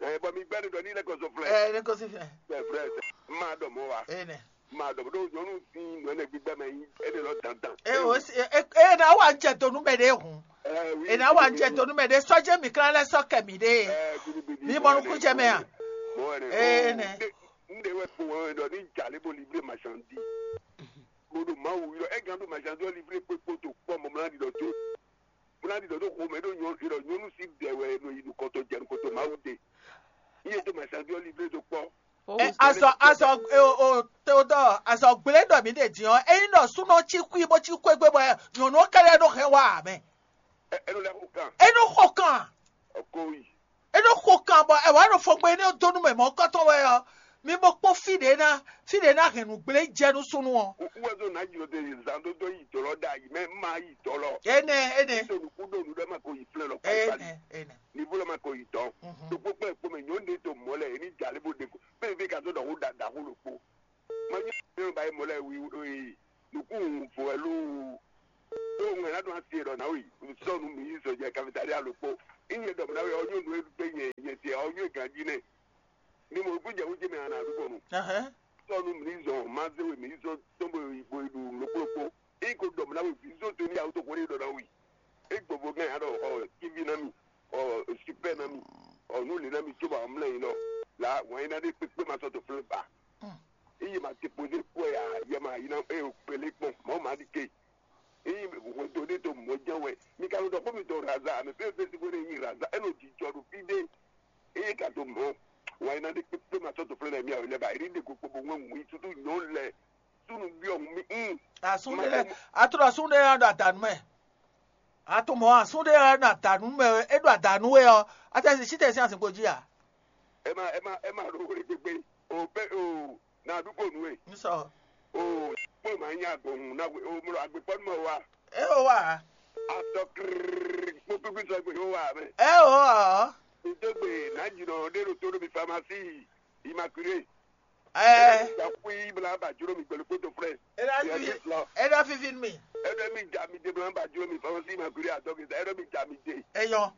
Ɛ bɔ mi gbɛ ɖɔ ni lɛ kɔsɔ flɛ. Ɛ ne ko si fɛ. Bɛ frɛ ma ɖɔ mɔ wa. Ene. Ma ɖɔ ɖo nyɔnu si nɔ ne gbígbɛ mɛ yi e ɖe lɔ dandan. Ɛ o si e e na wa jɛ donu mɛ ɖe hun. Ɛ oui. E na wa jɛ donu mɛ ɖe sɔjɛ mi kla lɛ sɔ kɛ mi ɖe. Ɛ gidi gidi. Mi mɔ nukun jɛ mɛ a. Mɔ ne. Ee, nɛ. N ɖe wɛ kpo wɛ ɖɔ ni jale bo livre marchandise. Bo ɖo Mawu yɔ e gan ɖo marchandise livre kpekpo to kpɔ mɔmla ɖi ɖɔ to. Mɔmla ɖi ɖɔ to xo mɛ ɖo nyɔ ɖɔ nyɔnu si ɖɛ wɛ no yi nukɔtɔ jɛ nukɔtɔ Mawu de. Iye to marchandise livre to kpɔ. Ɛ azɔ azɔ e o o te o dɔ azɔ gblé ɖɔ mi ɖe din ɔ eyin ɖɔ súnɔ tsi kú bó tsi kú egbé bɔ nyɔnu kɛlɛ ɖo hɛn wa mɛ. Ɛ ɛ lɛ xo kan. E ɖo xɔ kan. Ɔkɔ yi. E ɖo xɔ kan bɔ ɛ wà ɖo fɔgbɛ ne donu mɛ mɔ kɔtɔn wɛ ɔ mi bɔ kpɔ fi ɖe na fi ɖe na hɛn nu gblé jɛ nu súnú ɔ. Wúwɛzɔ nà jùlọ de zan dó dó yi dɔlɔ da yi mɛ má yi dɔlɔ. Ene ene. Tó nukú dó nu ɖe ma ko yi flɛ lɔ kpali kpali. Ene ene. Nivo lɔ ma ko yi dɔn. Mhm. Tó kpókpó ɛ kpó mɛ nyɔnu ɖe tó mɔ lɛ eni jalè bó ɖe ko bẹ́ẹ̀ fi ka tó dɔ̀kú dàdà kó lò kpó. Má yẹ kí ló ba yẹ mɔ lɛ wi nukú fo ẹ ɔ yó ganjí nɛ. Ni mo kú jɛ wújɛ mɛ ana àdúgbò nu. Tɔnu mi zɔn mazé we mi zɔn tɔnbɔ ìbò ìlú lókpókpó. Iko dɔm na we vi zɔn tó ní àwọn tó kórè dɔ na wi. E gbogbo gán yà dɔ ɔ kíbi na mi, ɔ super na mi, ɔ nu lè na mi tó ba mlɛ yìí nɔ. La wọn yìí na dé kpékpé ma sɔ tó flé ba. Iye ma te posé kó ya yɛ ma yìí na e o kpélé kpɔn mɔ ma di ke. Eye hwɛndo ɖé to mɔ̌ jɛ́n wɛ. Mi ka nɔ ɖɔ xó mitɔn raza, mɛ fɛ́n fɛ́n sín xwé ɖé nyi raza, é nɔ jijɔ ɖo fí ɖé. Eye ka to mɔ̌, wǎn é ná ɖe kpékpé ma sɔ́ to flɛ́ lɛ́ɛ mì awě lɛ́ɛ ba, é ɖi ɖe kpokpo bó ŋwɛ́ wǔ nyi súsú nyɔ̌nu lɛ́ɛ súnnu byɔ́ hun mì. Mm. Asun ɖé, atrɔ asun ɖé ná ɖo adanu mɛ. Atumɔ asun ɖé ná ɖo adanu mɛ, é ɖo adanu wɛ ɔ́, atɛ si sítɛ sín azinkpo jí a? Ɛ ma ɛ ma ɛ ma ɖo xwé gbégbé. O pɛ o na ɖu ko nú e. N sɔ. O kpɔ́n ma nya gbɔn na o mlɔ agbekpɔ́ nú mɛ wa. É o wa. Atɔ krrrr kpó kpíkpí sɔ gbé o wa mɛ. É o ɔ. N tó gbé na jìnnà ɖé ɖo tó ɖo mi famasi Immaculée. Ɛɛ. Ɛɛ. Xwí bla ba juro mi gbɛlú kpótó frɛ. Ɛna fi ɛna fi fi mi. Ɛna mi ja mi de bla ba juro mi famasi Immaculée adɔgbe ɛna mi ja mi de. Eyɔ.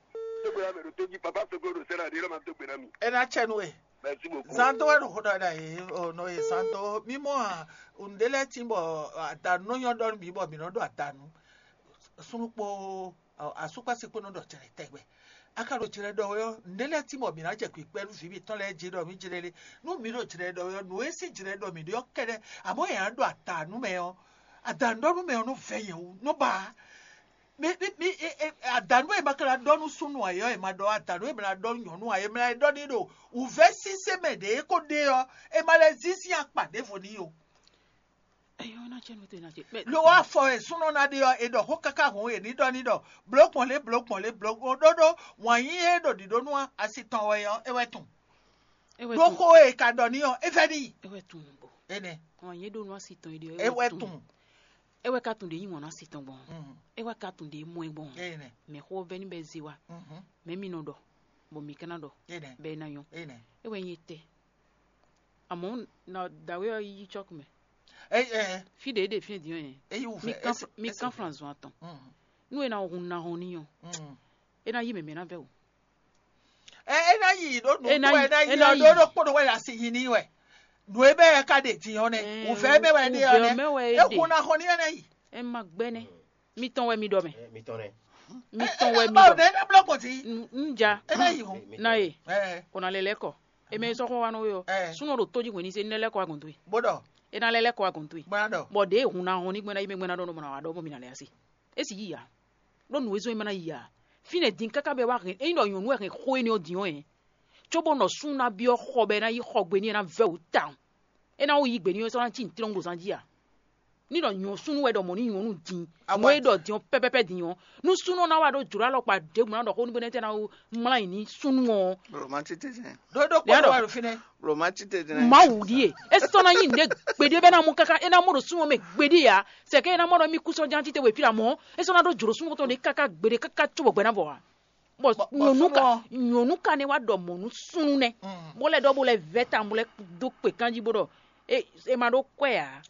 Tó gbé na mɛ ɖo tó jí papa sɔgbó ɖo sɛnɛ ɖé lɔ ma tó gbé na mi. Ɛna tsɛ nu e. Merci beaucoup. Santo wɛ ɖo xó ɖɔ ɖa ye o nɔ ye santo mímɔ a ŋɖe lɛ ti bɔ adanu nɔ nyɔ ɖɔ nu bǐ bɔ mǐ nɔ ɖo adanu. Súnnu kpó asúkpási kpó nɔ ɖɔ jlɛ tɛgbɛ. A ka ɖo jlɛ ɖɔ wɛ ɔ́, nɛ̌ lɛ́ɛ tímɔ mǐ ná jɛ kpǐkpɛ́ nú vǐ mitɔn lɛ́ɛ jí ɖɔ mǐ jlɛ́ lé? Nú mǐ ɖo jlɛ ɖɔ wɛ ɔ́, nǔ e sín jlɛ ɖɔ mǐ ɖe ɔ́ kɛ́ɖɛ́, àmɔ̌ è nǎ ɖo adǎnǔ mɛ ɔ́, adǎnǔɖɔnú mɛ ɔ́ nɔ vɛ́ nyɛ wú, nɔ ba ǎ. Mi mi mi e- e- adǎnǔ e ma ka ná ɖɔ nú súnnu ǎ é ɔ́, è ma ɖɔ adǎnǔ e ma ná ɖɔ nú nyɔ̌nu ǎ é, ma lɛ́ ɖɔ n'i ɖo wǔvɛ́ sísé mɛ ɖě é ko ɖe ɔ́, è ma lɛ́ zín sín akpa ɖěvo n'i ó. Eyɔ́ ná cɛ nú te ná cɛ. Lo wá fɔ e súnɔ ná ɖe ɔ́, è ɖɔ xó káká hǔn è ní ɖɔ ní ɖɔ blǒ gbɔn lé blǒ gbɔn lé blǒ gbɔn ɖóɖó wǎn yí é ɖo ɖǐɖó nú asi tɔn wɛ ɔ́, é wɛ tun. Ɖó xó e ka ɖɔ ní ɔ́, é vɛ́ n'i. É wɛ tun nǔgbó. Énɛ́. Wǎn yí é ɖo nú asi tɔn é ɖe ɔ́, É wɛ tun. É wɛ ka tun ɖě nyí wǎn nú asi tɔn gbɔn. Mhm. É wɛ ka tun ɖě mɔ ɛ gbɔn. Énɛ́. Mɛ xó vɛ́ ní bɛ zé wa. Mhm. Mɛ mi nɔ ɖɔ, bɔ mi ka ná ɖɔ. Énɛ́. Bɛ é ná nyɔ́. Énɛ́. É wɛ nyí etɛ́. Àmọ́ na dǎwe ɔ́ yí cɔ́kú mɛ. Ɛ ɛ Fí ɖě é ɖe fí e din ɔ́ yɛn. É yí wǔ mi fɛ. Kán Fr- mi kán Fran zɔn atɔn. Mm. Nú é ná hun ná hɔn n'i ɔ́, Mm. É ná yí mɛ̌ mɛ ná vɛ́ wǔ. Ɛ é ná yi ɖó nǔ É ná tó yi- é ná é yi ná ɔ́ yi. Ɖó ɖó kpóɖó wɛ ɖo asi yi n'i wɛ. Nǔ e bɛ́ ɛ ka ɖe din ɔ́ nɛ́. Ɛ, Wǔvɛ́ mɛ wɛ ɖe ɔ́ wǔvɛ́ nɛ́. Mɛ wɛ é É ɖe. Hun ná hɔn n'i ɔ́ ná yi. Ɛ má gbɛ́ nɛ́. Mítɔn wɛ mi ɖɔ mɛ. Ɛ, mi tɔn nɛ. Mítɔn wɛ mi Báwo ɖɔ. Nɛ é ná blɔ́ gbɔn tí? N- N ja. É ná yi hɔn. Na ye. Ɛ Kò ná lɛ lɛ́ kɔ. Eme sɔ́ xɔ wa nɔ we ɔ. Ɛ. Súnɔ ɖo tó jí hwenu ní se ní lɛ́ kɔ wa gɔ̌n towe. Bó ɖɔ. É ná lɛ́ lɛ́ kɔ wa gɔ̌n towe. Bó ná ɖɔ. Bɔ ɖě hun ná hɔn ní gbɛ́ ná yi mɛ gbɛ́ ná ɖɔ nɔ mɔ ná wa ɖɔ bɔ mi ná lɛ asi. É sì yí ya. Ɖó nǔ e zɔ́n é ma ná yi ya. Fínɛ́ din káká bɛ wá hɛn ényí ɖɔ nyɔ̌nu wɛ hɛn xó énɛ́ ɔ́ din ɔ́ hɛn. Cóbó nɔ súnnu ná byɔ́ xɔ bɔ é ná yi xɔ gbe n'i é ná vɛ́ wǔ tawun. É ná wú yí gbe n'i é sɔ́ ná cí nǔtlɔ́n ɖo zán jí a? Ní ɖɔ nyɔ̌súnnu wɛ ɖɔ mɔ̌ ní nyɔ̌nu din, Awa- nǔ e ɖɔ din ɔ́ pɛ́pɛ́pɛ́ din ɔ́, nú súnnu ɔ́ ná wá ɖó jlǒ alɔkpa ɖěbǔ ná ɖɔ xó nú bɛnɛ́ tɛ́ ná wó mlá nyi ní súnnu ɔ́. Romanticism. Ɖó ɖó Lɛ̌ kpɔ́ ɖɔ- wɛ ɖo fínɛ́. Romanticism. Mawu ɖíe, é sɔ́ ná nyí nǔɖé gbeɖé bɛ́ ná mɔ káká é ná mɔ ɖo súnnu ɔ́ mɛ gbeɖé ǎ. Sɛkɛ é ná mɔ ɖɔ mí kú sɔ́ ján títewě fí ɖo amɔ̌, é sɔ́ ná ɖó jlǒ súnnu tɔn ɖé káká gbeɖé káká cóbɔ gbɛ ná vɔ ǎ. Bɔ Bɔ- bɔ nyɔ̌nu súnnu ka ɔ́- nyɔ̌nu ka nɛ́ wá ɖɔ mɔ̌ nú súnnu nɛ́, Mm. bó lɛ́ ɖɔ bó lɛ́ vɛ́ tawun bó lɛ́ dó kpě kanjí bó ɖɔ é é ma ɖó kwɛ́ ǎ.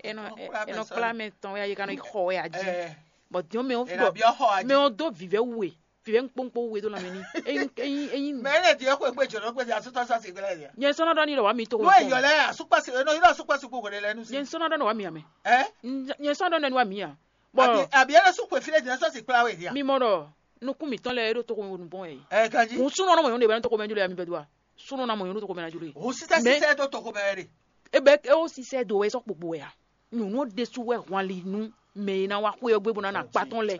É nɔ Nɔ é- kplá é nɔ mɛ kplá sɔ́. Mɛ tɔn wɛ a yi ka nɔ yi xɔ wɛ a jí. Ɛ Bɔ din ɔ́ mɛ ɔ́ Ena ɖɔ biɔ xɔ a mɛ jí. Ɔ́ dó vivɛ wu e vivɛ ŋkpóŋkpó wu e dó lanmɛ ní. Eyin eyin eyin Mɛ ele di ɔkɔ egbe jɔnɔ kpe di asutɔ sa si gbɛlɛ dia. Nyɛ sɔnna ɖɔ ni ɖɔ wa mi to N'o ye yɔ lɛ asukpasi n'o yɔ asukpasi kpo kɔni lɛ nu si. Nyɛ sɔnna ɖɔ ni wa mi amɛ. Ɛ Nyɛ sɔnna ɖɔ ni wa mi a. Abi Bɔ abi ele su kwe fi le di sɔ si kpla we dia. Mi mɔ ɖɔ nukún mitɔn lɛ ɖo toko wo nubɔn yɛ. Ɛ kanji. Kun sunɔ nɔ mɔ yɔn de bɛ toko mɛ jolo ya mi bɛ do a. Sunɔ na mɔ yɔn ɖo toko mɛ na jolo ye. O sisɛ Mais- sisɛ do toko mɛ de. Ebe e o sisɛ do wɛ sɔ kpokpo wɛ a. Nyɔnu ɖesu wɛ hwan li nu mɛ e na wa xwe ɔgbe bo na na kpa tɔn lɛ.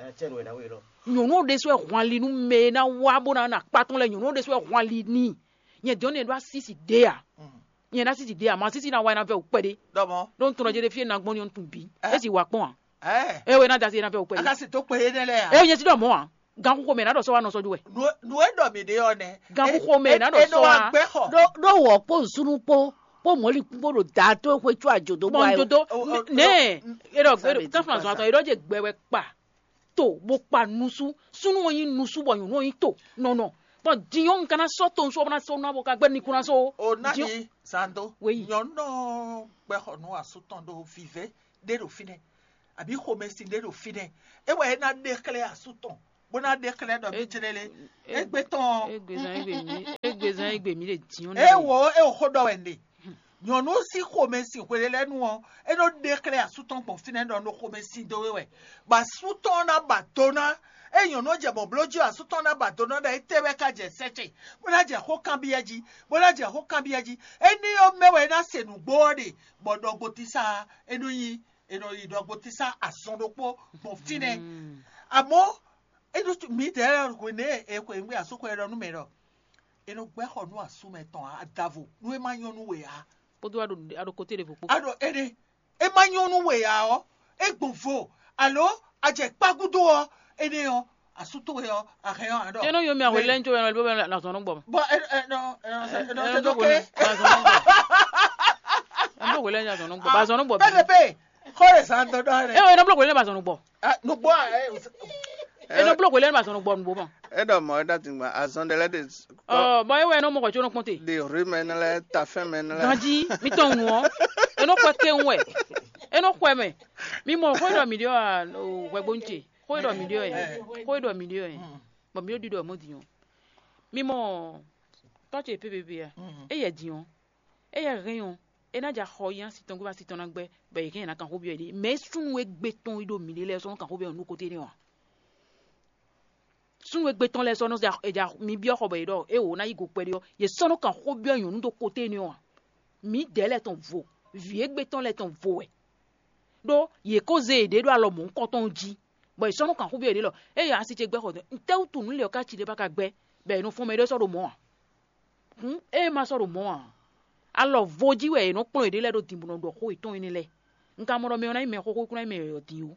Nyɔnu ɖesu wɛ hwan li nu mɛ e na wa bo na na kpa tɔn lɛ nyɔnu ɖesu wɛ hwan li ni. Nyɛ diɔ ne ɖo asisi de a. Nyɛ na sisi de a ma sisi na wa na vɛ o kpɛɖe. Dɔmɔ. Ɖo n tɔnɔ jɛ ɖe fie na gbɔn ni o tun bi. Esi wa kpɔn a. Ɛ E wɛ na dasi na vɛ o kpɛɖe. Akasi to kpe ye nɛ lɛ a. E nyɛ si dɔ mɔ a. Gan kuxo mɛ na dɔ sɔ wa nɔ sɔ ju wɛ. Nu nu e dɔ mi de ɔ nɛ. Gan kuxo mɛ na dɔ sɔ wa. Gbɛ xɔ. Ɖó ɖó wɔ kpó nsúnú kpó kpó mɔ̌likún kpó ɖo da tó xwe tsú àjò dó Bɔn bɔ n dodo o- o- nɛ e ɖɔ Ça veut dire tɛflɔn quoi, zɔn ça? Atɔ e ɖɔ dze gbɛ wɛ kpa to bó kpa nusu súnú ɔ́ nyí nusu bɔ nyɔ̌nu ɔ́ nyí to nɔnɔ bɔn dinyɔ́ un ka ná sɔ́ to nsú ɔ́ bó ná sɔ́ nú abo ka gbɛ́ ní kún ná sɔ́ o. O Dinyɔ́- nani sando. Oui. Nyɔnu gbɛ xɔ nú asú tɔn ɖo vivɛ ɖé ɖo fínɛ àbí xomɛsin ɖé ɖo fínɛ. E wɛ e ná ɖe xlɛ́ asú tɔn bó ná ɖe xlɛ́ ɖɔ mí jlɛ́ lé. Egbe tɔn. Egbe zan egbe nyi egbe Ezɔn e gbe mǐ ɖe din ɔ́ nɛ́. Ewǒ, é xó ɖɔ wɛ un ɖe. Nyɔ̌nu sín xomɛsin hwe lɛ́ɛ nu ɔ́, é nɔ ɖe xlɛ́ asú tɔn gbɔn fínɛ́ ɖɔ nɔ xomɛsin dó we wɛ, bɔ asú tɔn ɔ́ ná ba do ná. Ée nyɔ̌nu ɔ́ jɛ mɔ̌ bló jí ɔ́, asú tɔn ná ba do ná ɖɔ étɛ́ wɛ ka jɛ sɛ́ ce, bó ná jɛ xó kanbyɔ́ jí, bó ná jɛ xó kanbyɔ́ jí. Énɛ́ ɔ́ mɛ wɛ é ná se nǔgbó ɔ́ ɖe, bɔ ɖɔgbotísá ɔ́, é nɔ nyi è nɔ yi ɖɔgbotísá azɔn ɖokpó gbɔn fínɛ́. Amɔ̌, é nɔ mǐdɛɛ hwenɛ́ e xwe nú asú xwe ɖɔ nú mɛ ɖɔ è nɔ gbɛ́ xɔ nú asú mɛ tɔn adavo nú é má nyɔ́ nú we ǎ. Kpódó aɖo aɖo kote ɖěvo kpó. Aɖo énɛ́, é má nyɔ́ nú we ǎ ɔ́, é gbɔn vo, alo a jɛ kpá gúdo ɔ́, énɛ́ ɔ́, asú towe ɔ́, a hɛn ɔ́ a ɖɔ. Énɔ́ yɔn mi ahwe lɛ́ ń jó ɛnɔ ló bɛ na zɔn nɔ gbɔ. Bɔ ɛnɔ ɛnɔ ɛnɔ Ɛnɔ tó bló ké. Hwelɛ́ na zɔn nɔ gbɔ. Ɛnɔ bló hwelɛ́ na zɔn nɔ gbɔ. Ba zɔn nɔ gbɔ. Pɛpɛpɛ, xɔ lè zan dɔdɔ rẹ. Ɛ ɛnɔ bló hwelɛ́ na ba zɔn nɔ gbɔ. Nugbo ɛ. Ɛnɔ bló hwelɛ́ na ba zɔn nɔ gbɔ nugbo mɔ. Eɖɔ mɔ ɖa tingba azɔn ɖe lɛ ɖe. Ɔ bɔ é wɛ ɛnɔ mɔ xɔ tso nɔ kpɔn te. De rue mɛ ne lɛ, tafɛn mɛ ne lɛ. Ganji, mi tɔn nu ɔ. Enɔ xɔ ke ŋu wɛ. Enɔ xɔ mɛ. Mi mɔ xɔ ɖɔ mi ɖɔ hwɛgbonu ce. Xɔ ɖɔ mi ɖɔ yɛ. Xɔ ɖɔ mi ɖɔ yɛ. Bɔ mi ɖɔ ɖiɖɔ mɔ din ɔ. Mi mɔ tɔ ce pépépé ya. E yɛ din ɔ. E yɛ hɛn ɔ. E ná ja xɔ yi asi tɔn gbé asi tɔn ná gbɛ. Bɛ yi hɛn na kan xɔ bi yɛ de. Mɛ sunu e gbé tɔn yi ɖo mi ɖe lɛ sɔn kan xɔ bi yɛ nu kote ne wa. Súnnu e gbé tɔn lɛ́ɛ sɔ́ nɔ ja mi byɔ́ xɔ bɔ è ɖɔ é wǒ ná yí go kpɛɖé ɔ́, yě sɔ́ nɔ kan xó byɔ́ nyɔ̌nu ɖo koté énɛ́ ɔ́ ǎ. Mǐdɛɛ lɛ́ɛ tɔn vo, vǐ égbé tɔn lɛ́ɛ tɔn vo wɛ, ɖó yě kó zé yěɖée ɖó alɔ mɔ̌hunkɔtɔn jí, bɔ è sɔ́ nɔ kan xó byɔ́ yěɖée ɖɔ: "Ée asi ce gbɛ́ xɔ, ntɛ́ wútu nǔ lě ɔ́ ka ci ɖé ba ka gbɛ́, bɔ è nɔ fɔ́n mɛ ɖé sɔ́ ɖo mɔ̌ ǎ?" Hǔn ée ma sɔ́ ɖo mɔ̌ ǎ, alɔ vo jí wɛ è nɔ kplɔ́n yěɖée lɛ́ɛ ɖo din bó nɔ ɖɔ xó yětɔn énɛ́ lɛ́ɛ. Un ka mɔ ɖɔ mɛ ɔ́ ná nyí mɛ xóxó, é kún ná nyí mɛ yɔ̌yɔ́ din ó.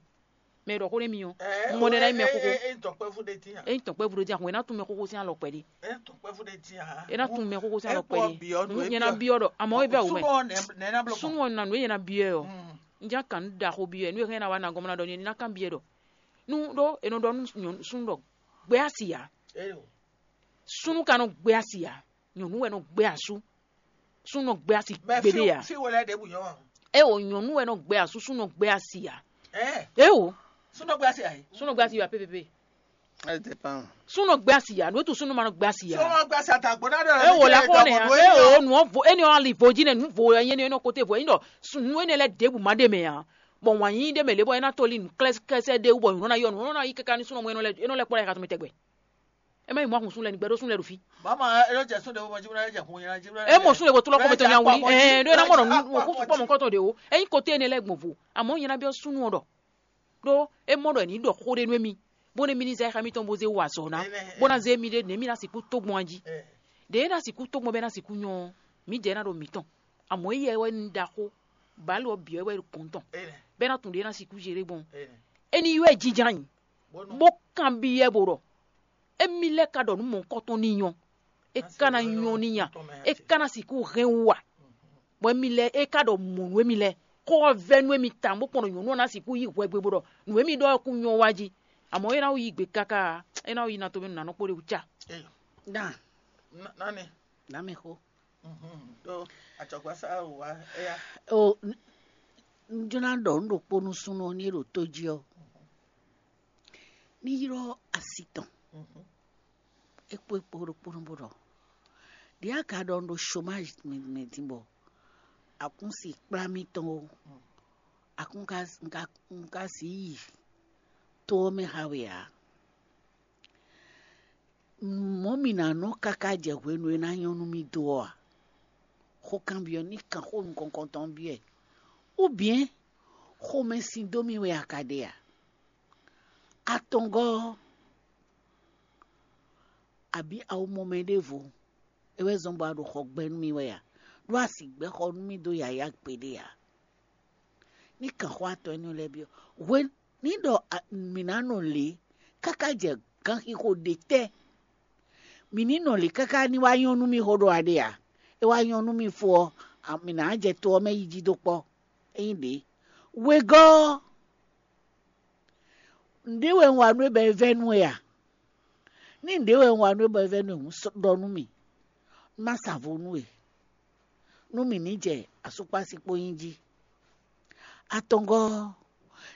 Mɛ e ɖɔ xó n'i mì ɔ́, un mɔ ɖɛ ná nyí mɛ xóxó. Ényí tɔn kpɛ́vú ɖé dín a? Ényí tɔn kpɛ́vú ɖé dín a, hwɛ̌n ná tún mɛ xóxó sín alɔ kpɛɖé. Ényí tɔn kpɛ́vú ɖé dín a? É ná tún mɛ xóxó sín alɔ kpɛɖé. Nyɛ ná byɔ́ ɖɔ, àmọ́ é bɛ wò mɛ. Súnnu ɔ́ nǎ nú é nyɛ ná byɔ́ ɛ ɔ́. Un já kan nú ɖaxó byɔ́ ɛ, nú é hɛn ná wá ná gɔ́n ná ɖɔ nyɛ ní ná kan byɔ́ ɛ ɖɔ. Nú ɖó è nɔ ɖɔ nú súnnu ɖɔ gbɛ́ asi ǎ. Súnnu ka nɔ gbɛ́ asi ǎ. Nyɔ̌nu wɛ nɔ gbɛ́ asú. Súnnu nɔ gbɛ́ asi gbeɖé ǎ. Fí wo lɛ́ɛ ɖěbǔ nyɔ́ a? É o, nyɔ̌nu wɛ nɔ gbɛ́ asú, súnnu nɔ gbɛ́ asi ǎ. Ɛ É o, súnú gbé asi ayi. Súnnu nɔ gbɛ́ asi ǎ pépépé. Ɛ dépend. Súnnu nɔ gbɛ́ asi ǎ, nǔ e tu súnnu ma nɔ gbɛ́ asi ǎ. Súnú gbé asi atagbo ná ɖe. É o, la xɔ nɛ ǎ. É o, nǔ ɔ́ vo, énɛ́ ɔ́ ali vo jí nɛ, nǔ vo wɛ nyí énɛ́ nɔ kote vo. É nyí ɖɔ nǔ énɛ́ lɛ́ɛ ɖěbǔ ma ɖe mɛ ǎ. Bɔ wǎn yíyí ɖé mɛ lě bɔ é ná tó lí nǔ klɛ́sɛ́ ɖé wú bɔ nǔ nɔ ná yɔ, nǔ nɔ ná yí káká ní súnnu mɔ é nɔ lɛ́ kpɔ́ ɖo ayǐ xá tɔn mɛ tɛgbɛ. É má yi mɔ ahun súnnu lɛ́ɛ ní gbɛɖó súnnu lɛ́ɛ ɖo fí. Mama, é ló jɛ súnnu ɖé bó mɔ jí bó ná jɛ hun yẹn jí bó ná É mɔ súnnu lɛ́ɛ bó tlɔ́ kɔ́ mɛ tɔn ní awulí. Ɛ ɖó é ná mɔ nɔ nú kú sukpɔ́ mɔ kɔ́tɔn ɖě o. É nyí koté énɛ́ lɛ́ɛ gbɔn vo. Àmọ́ nyɛ ná byɔ́ súnnu ɔ́ ɖɔ ɖó é mɔ ɖɔ è nǐ ɖɔ xó ɖé nú émí, bó nú émí ní zɛ xá mítɔn bó zé wa azɔ̌ ná, bó ná zé émí ɖé nǔ émí ná sixú tó gbɔn jí. Ɖě é ná sixú tó gbɔn bɔ é ná sixú nyɔ́ ɔ́, mǐdɛɛ ná ɖo mǐtɔn. Amɔ̌ éyɛ́ wɛ un ɖaxó, bǎlu ɔ́ bǐ wɛ ɖo kɔn tɔn, bɔ é ná tunwun ɖě é ná sixú zé ɖé gbɔn. Éní yi wɛ jínjɔ́n ayǐ, bó kanbyɔ́ bó ɖɔ: "Émí lɛ́ɛ ka ɖɔ nǔ mɔ̌hunkɔtɔn n'i nyɔ́? É ka ná nyɔ́ n'i nya? É ka ná sixú hɛn wú a?" Bɔ émí lɛ́ɛ é ka ɖɔ mɔ̌ nú émí lɛ́ɛ, xó ɔ́ vɛ́ nú émí tawun bó kpɔ́n ɖɔ nyɔ̌nu ɔ́ ná sixú yi hwɛgbe bó ɖɔ nǔ e mì ɖɔ ɔ́ kún nyɔ́ wá jí. Amɔ̌ é ná yi gbe káká, é ná yi ná tomɛ nǔ nanɔ kpó ɖé wú cá. Dan, Nani. Nǎ mɛ xó. Ɖó acɔgbasá wá éyá. O, n- n jló ná ɖɔ nǔ ɖokpó nú súnnu ɔ́ ní é ɖo tó jí ɔ́. Ní ylɔ́ asi tɔn. É kpó é kpó ɖokpónɔ bó ɖɔ: "Ɖě a ka ɖɔ un ɖo chômage mɛ din bɔ akúnsi kplá mì tɔn ó, akún ka un ka un ka sixú yi tó ɔ́ mɛ xá we ǎ. Mɔ̌ mì ná nɔ káká jɛ hwenu e ná nyɔ́ nú mì dó ɔ́ a? Xó kanbyɔ́ ní kan xó nukɔn tɔn byɔ́ ɛ. Ou bien xomɛsin dó mì wɛ a ka ɖe a? Atɔngɔ́ ɔ́, abǐ a ko mɔ mɛ ɖěvo, é wɛ zɔ́n bɔ a ɖo xɔ gbɛ nú mì wɛ a? Ɖó a sixú gbɛ́ xɔ nú mì dó yǎyá gbeɖé ǎ. Ní kan xó atɔn énɛ́ lɛ́ɛ byɔ́. Hwe ní ɖɔ a- mǐ ná nɔ lě káká jɛ ganxixo ɖětɛ́? Mǐ ní nɔ lě káká ní wá nyɔ́ nú mì xó ɖɔ a ɖe ǎ? É wá nyɔ́ nú mì fó ɔ́, a- mǐ ná jɛ to ɔ́ mɛ yi jí dó kpɔ́. Ényí ɖě, wegɔ́ ɔ́, nǔɖé wɛ un wa nú we bɔ é vɛ́ nú we a? Ní nǔɖé wɛ un wa nú we bɔ é vɛ́ nú we hǔn, sɔ́ ɖɔ nú mì, má sa vo nú we, nú mì ní jɛ asúkpási kpó nyí jí. Atɔngɔ́ ɔ́,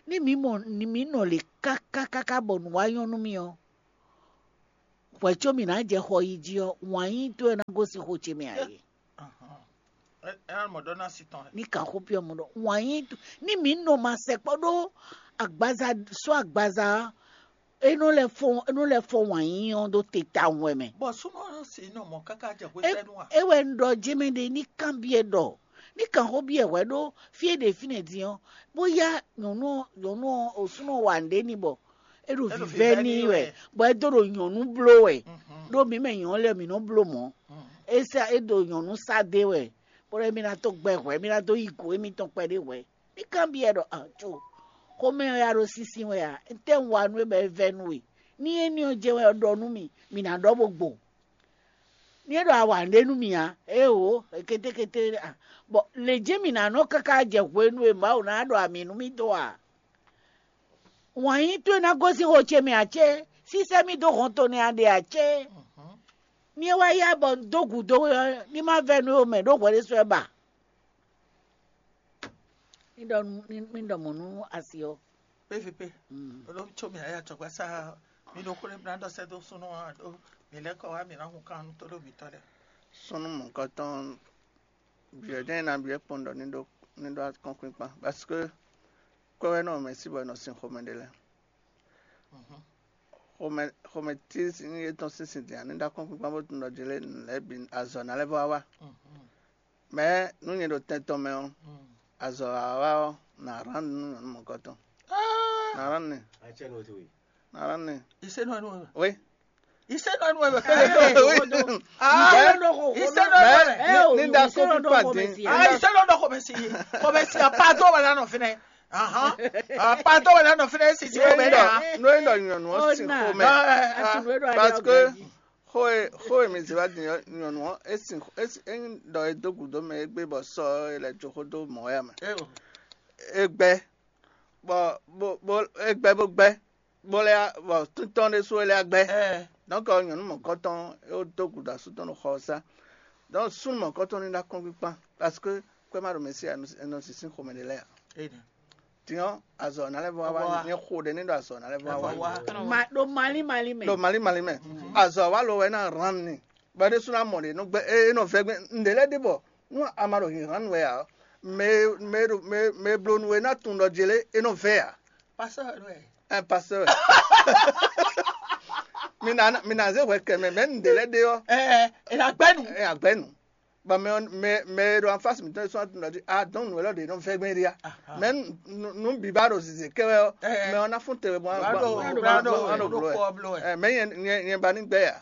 ní mǐ mɔ ní mǐ nɔ lě káká káká bɔ nǔ wá nyɔ́ nú mì ɔ́, Hwɛ̌ có mǐ ná jɛ xɔ yi jí ɔ́, wǎn yíyí towe ná gosín xo ce mɛ ǎ é. Ní kan xó byɔ́ mɔ ɖɔ wǎn yíyí towe, ní mǐ nɔ ma sɛkpɔ́ ɖó agbaza sɔ́ agbaza ɔ́, é nɔ lɛ́ fɔ é nɔ lɛ́ fɔ wǎn yíyí ɔ́ ɖó te tawun wɛ mɛ. Bɔ súnnu ɔ́ si nɔ mɔ káká jɛ hwesɛ́nu a? É wɛ un ɖɔ jɛ́mɛ ɖe ní kanbyɔ́ ɖɔ ní kan xó byɔ́ hwɛ̌ ɖó fí e ɖe fínɛ́ din ɔ́, bó yá nyɔ̌nu ɔ́ nyɔ̌nu ɔ́ osúnɔ wa nǔɖé n'i bɔ é ɖo vǐvɛ́ n'i wɛ, bɔ é dó ɖo nyɔ̌nu bló wɛ. Ɖó mǐ mɛ nyɔ̌nu lɛ́ɛ mǐ nɔ bló mɔ̌. É sá é ɖo nyɔ̌nu sá dó wɛ, bó ɖɔ émí ná tó gbɛ hwɛ̌, émí ná dó yí gǔ émítɔn kpɛɖé hwɛ̌. Ní kanbyɔ́ ɖɔ ajo, xomɛ ɔ́ ya ɖo sísí wɛ a? Étɛ́ un wa nú we bɔ é vɛ́ nú we? Ní éní ɔ́ jɛ́n wɛ ɔ́ ɖɔ nú mì, mǐ ná ɖɔ bó gbo. Ní é ɖɔ a wa nǔɖé nú mì ǎ, éeǒ, kétékété a? Bɔ lě jɛ́n mǐ ná nɔ káká jɛ hwenu e Mawu ná ɖɔ amǐ nú mì dó a? Wǎn yí towe ná gosín xo ce mɛ ǎ cé? Sísɛ́ mì dó hɔn to nɛ́ a ɖe ǎ cé? Ní é wá yá bɔ un dó gǔdo we ɔ́, ní má vɛ́ nú we mɛ ɖó hwɛ ɖésú wɛ ba? Ní ɖɔ nú ní ní ɖɔ mɔ̌ nú asi ɔ́. P V P, ɖó tso mǐ ayé acɔgbasá mi ɖo xó ɖé mi ná ɖɔ sɛ́ dó súnnu ɔ́ ɖó mǐ lɛ́ kɔ wá mǐ ná hun kan nú tóɖó mǐtɔn lɛ́ɛ. Súnnu mɔ̌hunkɔtɔn byɔ̌ jɛ́n ná byɔ́ kpɔ́n ɖɔ ní ɖó ní ɖó akɔ́nkpinkpan, parce que kwɛ́ wɛ nɔ mɛ sí bɔ è nɔ sin xomɛ ɖé lɛ́ɛ. Xomɛ xomɛ tí sín é tɔn sín sin din ǎ, ní ɖó akɔ́nkpinkpan bó tunwun ɖɔ jlé nǔ lɛ́ɛ bǐ azɔ̌ ná lɛ́ vɔ wá wa. Mɛ̌ nú nyɛ ɖo tɛn tɔn mɛ ɔ́, azɔ̌ wa wa ɔ́, nǎ rán nǔ nú nyɔ̌nu mɔ̌kɔtɔn. Nǎ rán nɛ. Acɛnwó towe. Nǎ rán nɛ. Isenɔnu. Oui. Isenɔnu wɛ bɛ. Oui. Ah, Isenɔnu wɛ. Ní da kɔkú pàdé. Ah, Isenɔnu xɔmɛsi. Xɔmɛsi apado wɛ lánà fínɛ. Ahan. Apado wɛ lánà fínɛ sisi wɛ bɛ dà. N'o ye dɔ nyɔnu ɔ si xɔmɛ. Parce que xó e xó e mi zě wá din ɔ́, nyɔnu ɔ́, é sin é sin é nyí ɖɔ é dó gǔdo mɛ égbé bɔ sɔ ɔ́, é lɛ́ jó xó dó mɔ̌ wɛ ǎ mɛ. É gbɛ bɔ bó bó é gbɛ bó gbɛ bó lɛ́ bɔ títɔn ɖésú é lɛ́ gbɛ. Donc nyɔ̌nu mɔ̌kɔtɔn é dó gǔdo asú tɔn ɖo xɔ ɔ́ sá. Donc súnnu mɔ̌kɔtɔn ní ɖó akɔ́nkpinkpan, parce que kwɛ́ ma ɖo mɛ sí ǎ, è nɔ sín xomɛ ɖé lɛ́ɛ ǎ. Din ɔ́, azɔ̌ ná lɛ́ vɔ wá wá, nyɛ xo ɖé ní ɖo azɔ̌ ná lɛ́ vɔ wá wá. Ma ɖo malí malí mɛ. Ɖo malí malí mɛ. Azɔ̌ wá lo wɛ ná rán ni. Bɔ é ɖésú ná mɔ ɖě nɔ gbɛ é nɔ vɛ́ gbɛ́ nǔɖé lɛ́ɛ ɖé bɔ nú a ma ɖo hǐnhán nú wɛ ǎ, mɛ e mɛ e ɖo mɛ e mɛ e bló nú we ná tunwun ɖɔ jě lé é nɔ vɛ́ ǎ. Pasteur wɛ. Ɛ pasteur wɛ. Mi na mi na zé hwɛ kɛ mɛ mɛ nǔɖé lɛ́ɛ ɖé ɔ́. Ɛ ɛ ɛ na gbɛnu. Ɛ agbɛnu. Bɔ mɛ ɔ́ mɛ mɛ e ɖo anfasi mǐtɔn e sɔ́ tunwun ɖɔ jí a dɔn nǔ élɔ́ ɖě nɔ vɛ́ gbɛn ɖi a. Mɛ nú bǐ ba ɖo zǐzé kɛ wɛ ɔ́, mɛ ɔ́ ná fún te wɛ bó ná bló ɛ. Mɛ nyɛ nyɛ nyɛ ba ní gbɛ ya.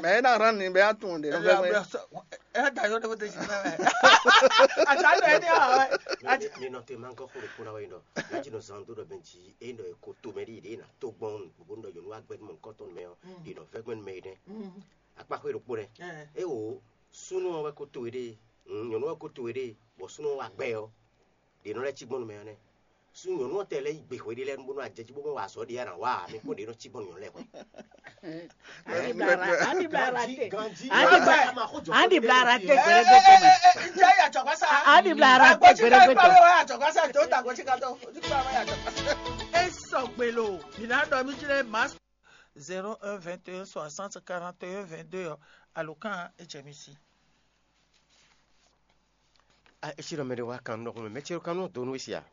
Mɛ é ná hán ni bɛ á tunwun ɖě nɔ vɛ́ gbɛn. Ɛ da yɔ ɖe ko te si fɛ. Ata lɛ ni a wɛ. Mi nɔ te ma nkɔ xo ɖokpo na wɛ nɔ. Na dzi nɔ zan do ɖɔ bɛn dzi e nɔ ko to mɛ ɖi ɖe na to gbɔn gbogbo nɔ yɔnu agbɛ mɔ nkɔ tɔn mɛ ɔ. Ɖi nɔ vɛ́ gbɛn mɛ ɖe. Akpa xo ɖokpo nɛ. E o súnú wɛ ko to ɖe. Nyɔnu wɛ ko to ɖe. Bɔ súnú wa gbɛ ɔ. Ɖe nɔ lɛ ci gbɔn mɛ ɔ nɛ. Sú nyɔnu ɔ́ tɛ lɛ́ yí gbe hwe ɖé lɛ́ɛ bónú ajɛjí bó mɔ wa azɔ̌ ɖé ya nǎ wa ǎ, mi kpɔ́n ɖě nɔ cí gbɔn nyɔ̌nu lɛ́ɛ hwɛ. Andi bla ara te. Andi bla ara te gbɛrɛgbɛ tɔn mɛ. Andi bla ara te gbɛrɛgbɛ tɔn. Esɔgbelo, mina dɔ mi jlɛ mas. Zéro un vingt et un soixante quarante et un vingt-deux ɔ, alo kan ejɛ mi si. A esi ɖɔ mɛ ɖe wá kan nɔ xɔmɛ mɛ ce kan nɔ do nú esi a.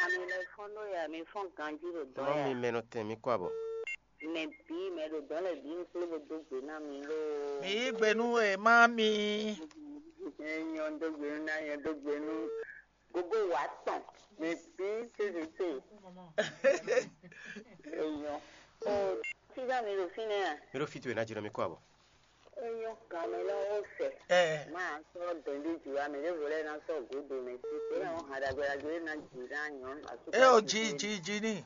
Ami le fɔn ɖo ya, mi fɔn ganji ɖo dɔ ya. Mi mɛ nɔ tɛn mi kɔ abɔ. Mɛ bi mɛ ɖo dɔ lɛ bi nklo bo do gbe na mi lo. Mi yi gbe nu e ma mi. Nyɔ do gbe nu na nyɔ do gbe nu. Gogo wa tɔn. Mɛ bi se se se. Enyɔ. O, sisan mi ɖo fínɛ́ a? Mi ɖo fi towe ná dzi nɔ mi kɔ abɔ. Enyɔ gamɛ lɔ wo sɛ. Ɛ. Ma sɔ dɛndi ju wa mɛ ɖevo lɛ na sɔ godo mɛ si. Te na wo ha dagbe dagbe na dzi na nyɔ. E o dzi dzi dzi ni.